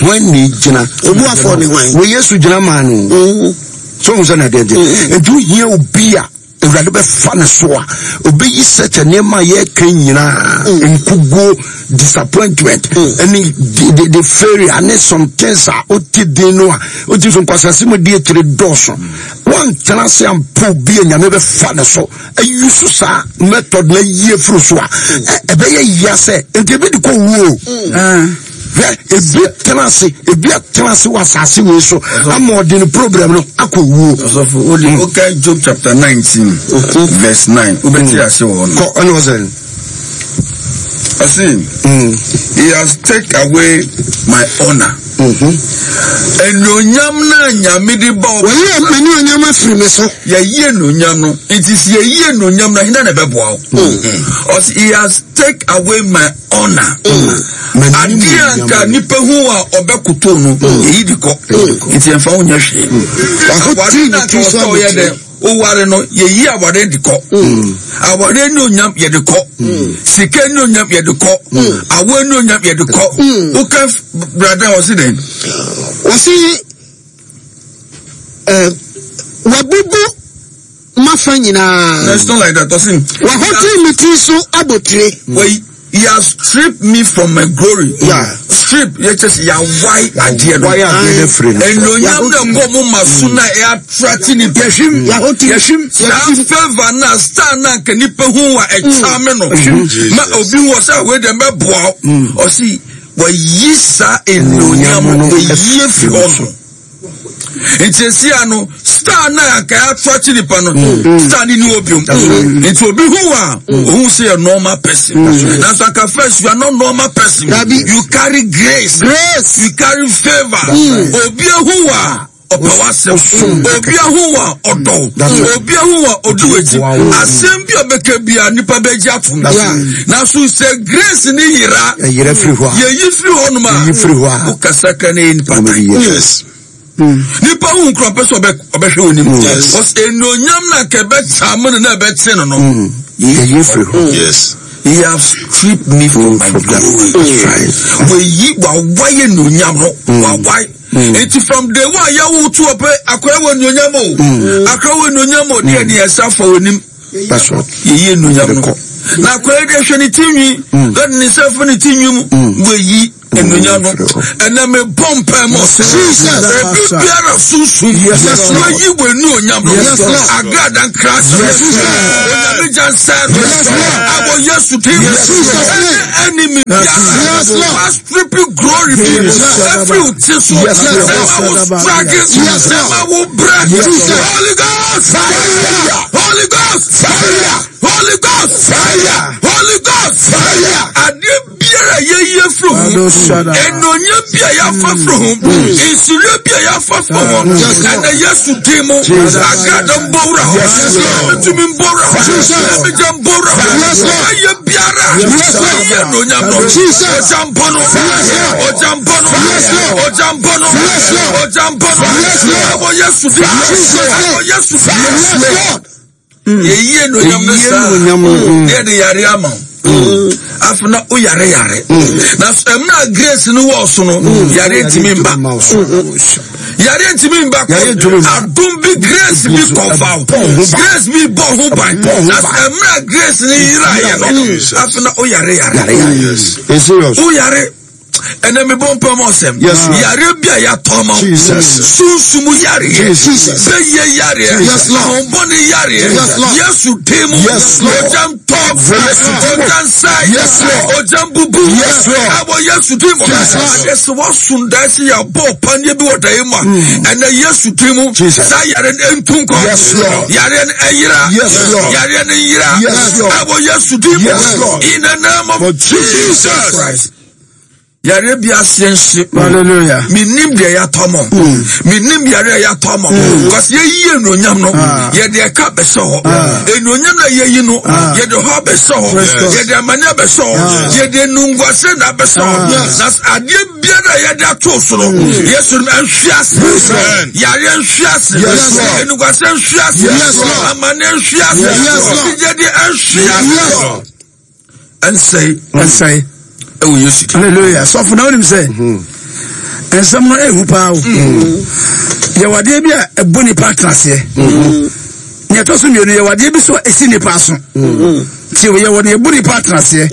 When ni gyina. Obu afɔ ni hwan. Wɔ Yesu gyina maa no. So ohun sɛ na adeɛ deɛ. Nti ohia obi a Awurade bɛfa ne so a obeyi sɛkyɛ nneɛma a yɛka nyinaa nkuguo disappointment ɛne the the failure ne some things a wote din no a wote so nkwasase mu di akyire dɔɔso wantena ase ampo bi a Nyame bɛfa ne so ayi so saa method na ayi afiri so a ɛbɛyɛ yia sɛ nti ebi de kɔ wuo. Hwɛ, ebi tena ase, ebi atena ase wɔ asase wei so ama ɔde ne problem no akɔ wuo. Ɔsɔfo, o de o ka Job chapter 19 verse 9, wobɛte ase wɔ hɔ no. Kɔ, ɛna ɔsɛ. Ɔse, he has take away my honor. Anuonyam no a Nyame de ba ɔbɛ. Wɔyi m'anuonyam afiri me so. Yɛyi anuonyam no, nti sɛ yɛyi anuonyam no, hena na ɛbɛboa wo? Ɔse, he has take away my honor. Adeɛ a nka nipa hu a ɔbɛkoto no, yɛyi de kɔ. Nti ɛmfa wo nyɛ hwee. Aware no a nka ɔsɛ ɔyɛ dɛ, oware no, yɛyi aware de kɔ. Aware ne onyam yɛde kɔ. Sika ne onyam yɛde kɔ. Awo ne onyam yɛde kɔ. Woka brada ɔse dɛn? Ɔse, wabubu M'afa nyinaa. No, it's not like that. Ɔse. Wahotiri me tiri so abotire. Wei, he has stripped me from my glory. Yeah. Strip, yɛ kyɛ sɛ yɛawae adeɛ no. Wae adeɛ no afiri no. Anuonyam na ɛkɔ mo ma so na ɛyɛ attract nipa. Yɛhwim. Yɛahotiri. Yɛhwim. Saa favour na star na nka nipa hu wa ɛkyame no. Ma obi wɔ sɛ wei deɛ mɛboa wo. Ɔse, wayi saa anuonyam no, wayi afiri hɔ no. Nti esi ano star na anka ato akyi nipa no star ni ni wɔ biom. Nti obi hu wa ohun sɛ yɛ normal person. Nanso anka first you are not normal person. You carry grace. Grace. You carry favour. Obi ehu wa ɔpɛ w'asɛm. Obi ehu wa ɔdɔ. Obi ehu wa odi w'akyi. Asɛm bi a ɔbɛka bi a nipa bɛgye atom. Nanso sɛ grace ni yera. Yɛyera firi hɔ a. Yɛyi firi hɔ nom a. Yɛyi firi hɔ a. Wokasa kra na yɛ nipa tan. Yes. Nipa hu nkura pɛ sɛ ɔbɛhwɛ wɔ nim. Yes. Enuonyam na nka ɛbɛkya mo no na ɛbɛkye no no. Yɛyi firi hɔ. Yes. He has stripped me from my glory. Wɔyi wawaye enuonyam no. Wawaye. Eti from day one yɛwo to ɔpɛ akɔyɛ wɔ enuonyam o. Akɔyɛ wɔ enuonyam o. Deɛ deɛ ɛsa fa wɔ nim. That's right. Yɛyi enuonyam no. Na akɔyɛ deɛ hwɛ ne ti nwi. Lɔde ne nsa fa ne ti nwi mu. Wɔyi enunya no. Ɛnna mi bɔ mpa mu. Ebi biara sunsun. Wɔyi wɔ enuonyam no. Agrada nkira sɛ. Onyame gya nsa no. Awɔ Yesu din. Ɛne enemy biara. Wa strip glory bi. Every ti so. Ɛma wo struggle. Ɛma wo brɛ. Holy Ghost fire. Holy Ghost fire. Holy Ghost fire. Holy Ghost fire. Adeɛ biara yɛyi afiri ho. Ɛnonyɛ bi a yɛafa firi ho. Nsurie bi a yɛafa firi ho. Ɛnna Yesu din mu. Agrada mbɔwura hɔ. Ɛbɛtumi mbɔwura hɔ. Ɛbɛgya mbɔwura hɔ. Ɛyɛ biara. Ɛyɛ ɛnonyam no. Ɔgya mbɔ no. Ɔgya mbɔ no. Ɔgya mbɔ no. Ɔgya mbɔ no. Ɛwɔ Yesu din mu. Ɛwɔ Yesu din mu. Yɛyi ɛnonyam no saa. Ne yɛde yare ama wo. Afei na wo yare yare. Na mmerɛ grace no wɔ so no, yare ntumi mba. Yare ntumi mba kɔ. Adom bi grace bi kɔfa wo. Grace bi bɔ ho ban. Na mmerɛ grace no yera yɛ no, afei na wo yare yare. Wo yare. Ɛnɛ mebɔ mpa mu ɔsɛm yareɛ bi a yɛatɔ ma sunsum yareɛ bɛyɛ yareɛ ahombɔne yareɛ Yesu din mu ogya ntɔ ogya nsae ogya mbubu ɛwɔ Yesu din mu. Adeɛ sɛ woasom dae sɛ yɛabɔ ɔpaneɛ bi wɔ daeɛ mu a, ɛnɛ Yesu din mu saa yareɛ no ɛntu nkɔ, yareɛ no ɛyera, yareɛ no nyera ɛwɔ Yesu din mu. In the name of Jesus. Yareɛ bi aseɛ nhye. Hallelujah. Menim deɛ yɛatɔ mɔ. Menim yareɛ a yɛatɔ mɔ. Because yɛyi anuonyam no, ah. yɛde ɛka bɛhyɛ hɔ. Ah. Anuonyam na yɛyi no, ah. yɛde hɔ abɛhyɛ hɔ. Yɛde amane abɛhyɛ hɔ. Yɛde nunguase na abɛhyɛ hɔ. Na adeɛ biara a yɛde ato so no, mm. Yesu no nhwe ase. Yareɛ nhwe ase. Nunguase nhwe ase. Amane nhwe ase. Gyegyedeɛ nhwe ase. Ɛnsɛe. Ɛnsɛe. Ɛwɔ Yesu din. Hallelujah. Sɔfo na wonim sɛ mhm. nsɛm no ɛhu paa o. Mhm. Yɛwɔ adeɛ bi a ɛbɔ nipa atenaseɛ. Mhm. Nea ɛtɔ so mmienu yɛwɔ adeɛ bi so a ɛsi nipa aso. Nti yɛwɔ nea ɛbɔ nipa atenaseɛ.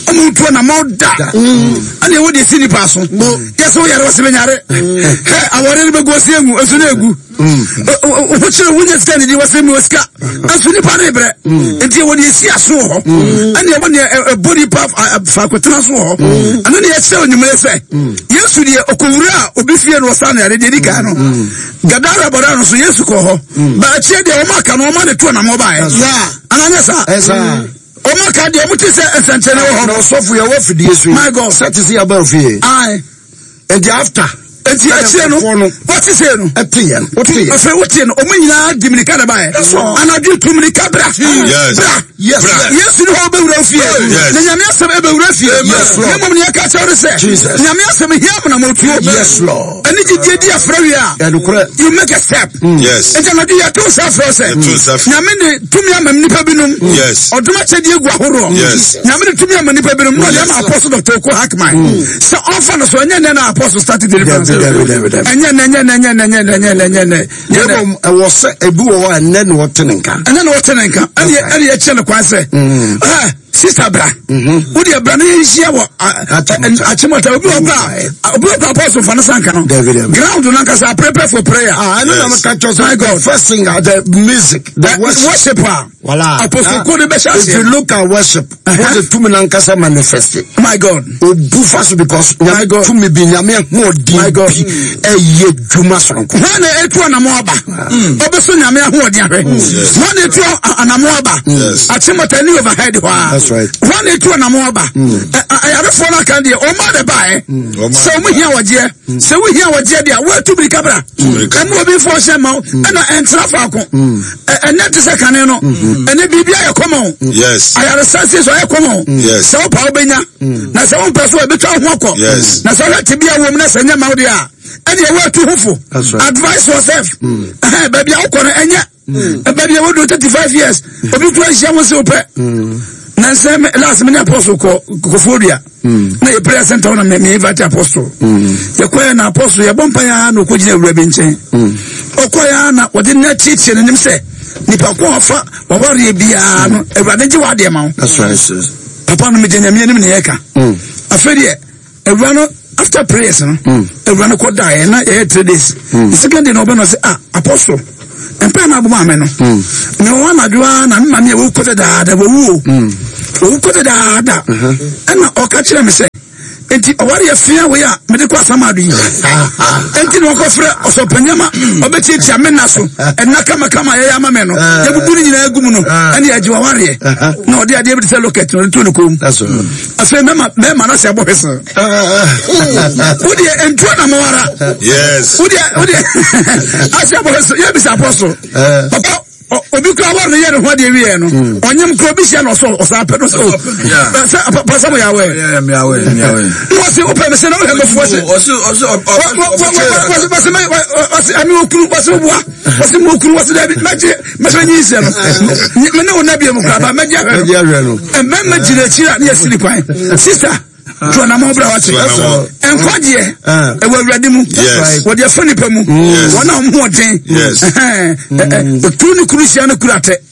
Ɔmo ntuo na ma da. Ɛna yɛwɔ deɛ ɛsi nipa aso. Yɛ sɛ woyare wɔ sɛ bɛnyare. Hɛ awɔre no bɛgu ɔsɛ egu nso na egu. Wo kyerɛ wonya sika ne di wɔsɛ mi wɔ sika nso nipa ne brɛ nti ɛwɔ deɛ esi aso wɔ hɔ ɛne ɛwɔ deɛ ɛbɔ nipa faakotena so wɔ hɔ ɛno ne yɛkyerɛ onyimire sɛ Yesu deɛ ɔkɔwura a obi fie no ɔsa no yare deɛ di kan no Gadara bɔda no so Yesu kɔ hɔ ba akyire deɛ wɔn aka no wɔn de to anam ɔbaeɛ ananyɛ saa wɔn aka deɛ wɔn ti sɛ nsɛnkyɛnne wɔ hɔ. Na ɔsɔfo yɛ wɔ fidie so yi. My God. Sɛ te sɛ yaba ofie. Aye. Nti after. Nti akyire no wɔte sei no. Ɛte yɛn wote yɛn. Afei wote no ɔmo nyinaa di mirika na baeɛ. Anadwo tu mirika bra. Bra. Yesu ni hɔ ɔbɛwura fie. Na nyame asɛm ɛbɛwura fie. Na mmom nea ɛka kyerɛ ne sɛ. Nyame asɛm hia amonamotuo. Ɛne gyidie di afra wie a. You make a step. Nti anadwo yɛto nsa frɛ sɛ. Nyame de tumi ama nnipa binom. Ɔdom akyɛdeɛ gu ahoroɔ. Nyame de tumi ama nnipa binom. Na ɔde ama Apostle Dr. Oko Hackman. Sɛ ɔnfa no so ɛnyɛ nnɛ na apostle start deliverance. Ɛnyɛ nnɛ ɛnyɛ nnɛ ɛnyɛ nnɛ ɛnyɛ nnɛ ɛnyɛ nnɛ ɛnyɛ nnɛ. Na mmom ɛwɔ sɛ ebi wɔ hɔ a ɛnnɛ na wɔte ne nka. Ɛnnɛ na wɔte ne nka. Ɛne ɛne yɛkyerɛ no kwan sɛ. Ɛɛ sista bra. Wo deɛ bra na yɛnhyia wɔ Achimota. Obi wɔ kora obi wɔ kora apostle fa no sanka no. Ground no ankasa prepare for prayer. Ah, ɛno na meka kyerɛ sɛ. My God. First thing, the music, the worship. Worship a. Wala. Apostle ko de bɛhyɛ If you aseɛ. look at worship, what the tumi nankasa manifest. My God. Obu fa so because My God. tumi bi nyame ahoɔden My God. bi ɛyɛ dwuma soronko. Hwan na etu anamɔ aba? Ɔbɛso nyame ahoɔden ahwɛ. Hwan na etu anamɔ aba? Achimota ni overhead hɔ a. That's right. Hwan na etu anamɔ aba? Ayarefoɔ no aka deɛ ɔmo de baeɛ. Sɛ ɔmo hia wɔgyeɛ. Sɛ wohia wɔgyeɛ deɛ woatu mirika bra. Ɛmu obi fɔ hyɛ ma wo. Ɛna ɛntena faako. Ɛnɛ te sɛ kane no. Ɛnɛ biribi ayɛ kɔmɔ. Yes. Ayaresa sie so ayɛ kɔmɔ. Yes. Sɛ wopɛ wobɛnya. Na sɛ wompɛ so a ɛbɛtwa wo ho akɔ. Yes. Na sɛ wohwɛ tebea wɔ mu na sɛ ɛnyɛ ma wo deɛ a, ɛdeɛ woatu ho fo. That's right. Advise yourself. Ɛhɛn, baabi a wokɔ no ɛnyɛ. Baabi a wodu 35 years, obi kura nhyia ho sɛ wopɛ. Na nsɛ me last me ne apostle kɔ Kofoɔ Dua. Na yɛ prayer center hɔ na me me invite apostle. Yɛkɔɛ na apostle yɛbɔ mpaeɛ ara na ɔkɔgyina awura bi nkyɛn. Ɔkɔɛ ara na wɔde nna tietie n'anim sɛ. Nipa ko a ɔfa wawareɛ biara no, Awurade gye w'adeɛ ma wo. Papa no megye Nyame anim na yɛka. Afei deɛ awura no after prayers no, awura no kɔ daeɛ na yɛyɛ 3 days. The second day na ɔbɛ no sɛ, ah, apostle, mpɛ na abɔ maame no. Me wɔ anadwo ara na me maame a wɔwu kɔ dadaada, wɔwu o. Wɔwu kɔ dadaada. Ɛna ɔka kyerɛ me sɛ, nti ɔware yɛ fia wei a mede kɔ asamado yi nti na ɔkɔfrɛ ɔsɔpanyama ma ɔbɛtiatia me nna so ɛnna kamakama yɛyɛ ama me no, yɛbubu no nyinaa gu mu no, ɛne yɛgye wawareɛ na ɔde adeɛ bi te sɛ locket na ɔde to ne kɔn mu. Afei mɛma mɛma no sɛ ɛbɔ hwese wodeɛ ntuo na mowara wodeɛ wodeɛ asɛ ɛbɔ hwese yɛbisa apɔso papa obi kura awari no yɛ ne ho adeɛ wieɛ no, ɔnyem kura obi hyia na ɔsɔ ɔsan pɛ no sɛ o sɛ pasa mo yɛ awɛ na ɔsi wopɛ mi sɛ na ɔhɛ mɛfu ɔsi ɔsi ɔsi ɛmi okunu ɔsi obua ɔsi mo okunu ɔsi dɛbi mɛgye mɛsɛ nyi nsɛ no mɛ ne wo nabie mu kura ba mɛgye ahwɛ no. Mɛmɛ gyina akyiri a ne yɛ siri kwan sista tu anamɔ bra wate nkwagyeɛ ɛwɔ Awurade mu, wɔde afa nipa mu, wɔn a wɔn ho ɔden kuru ne kuru hyia no kuru atɛ.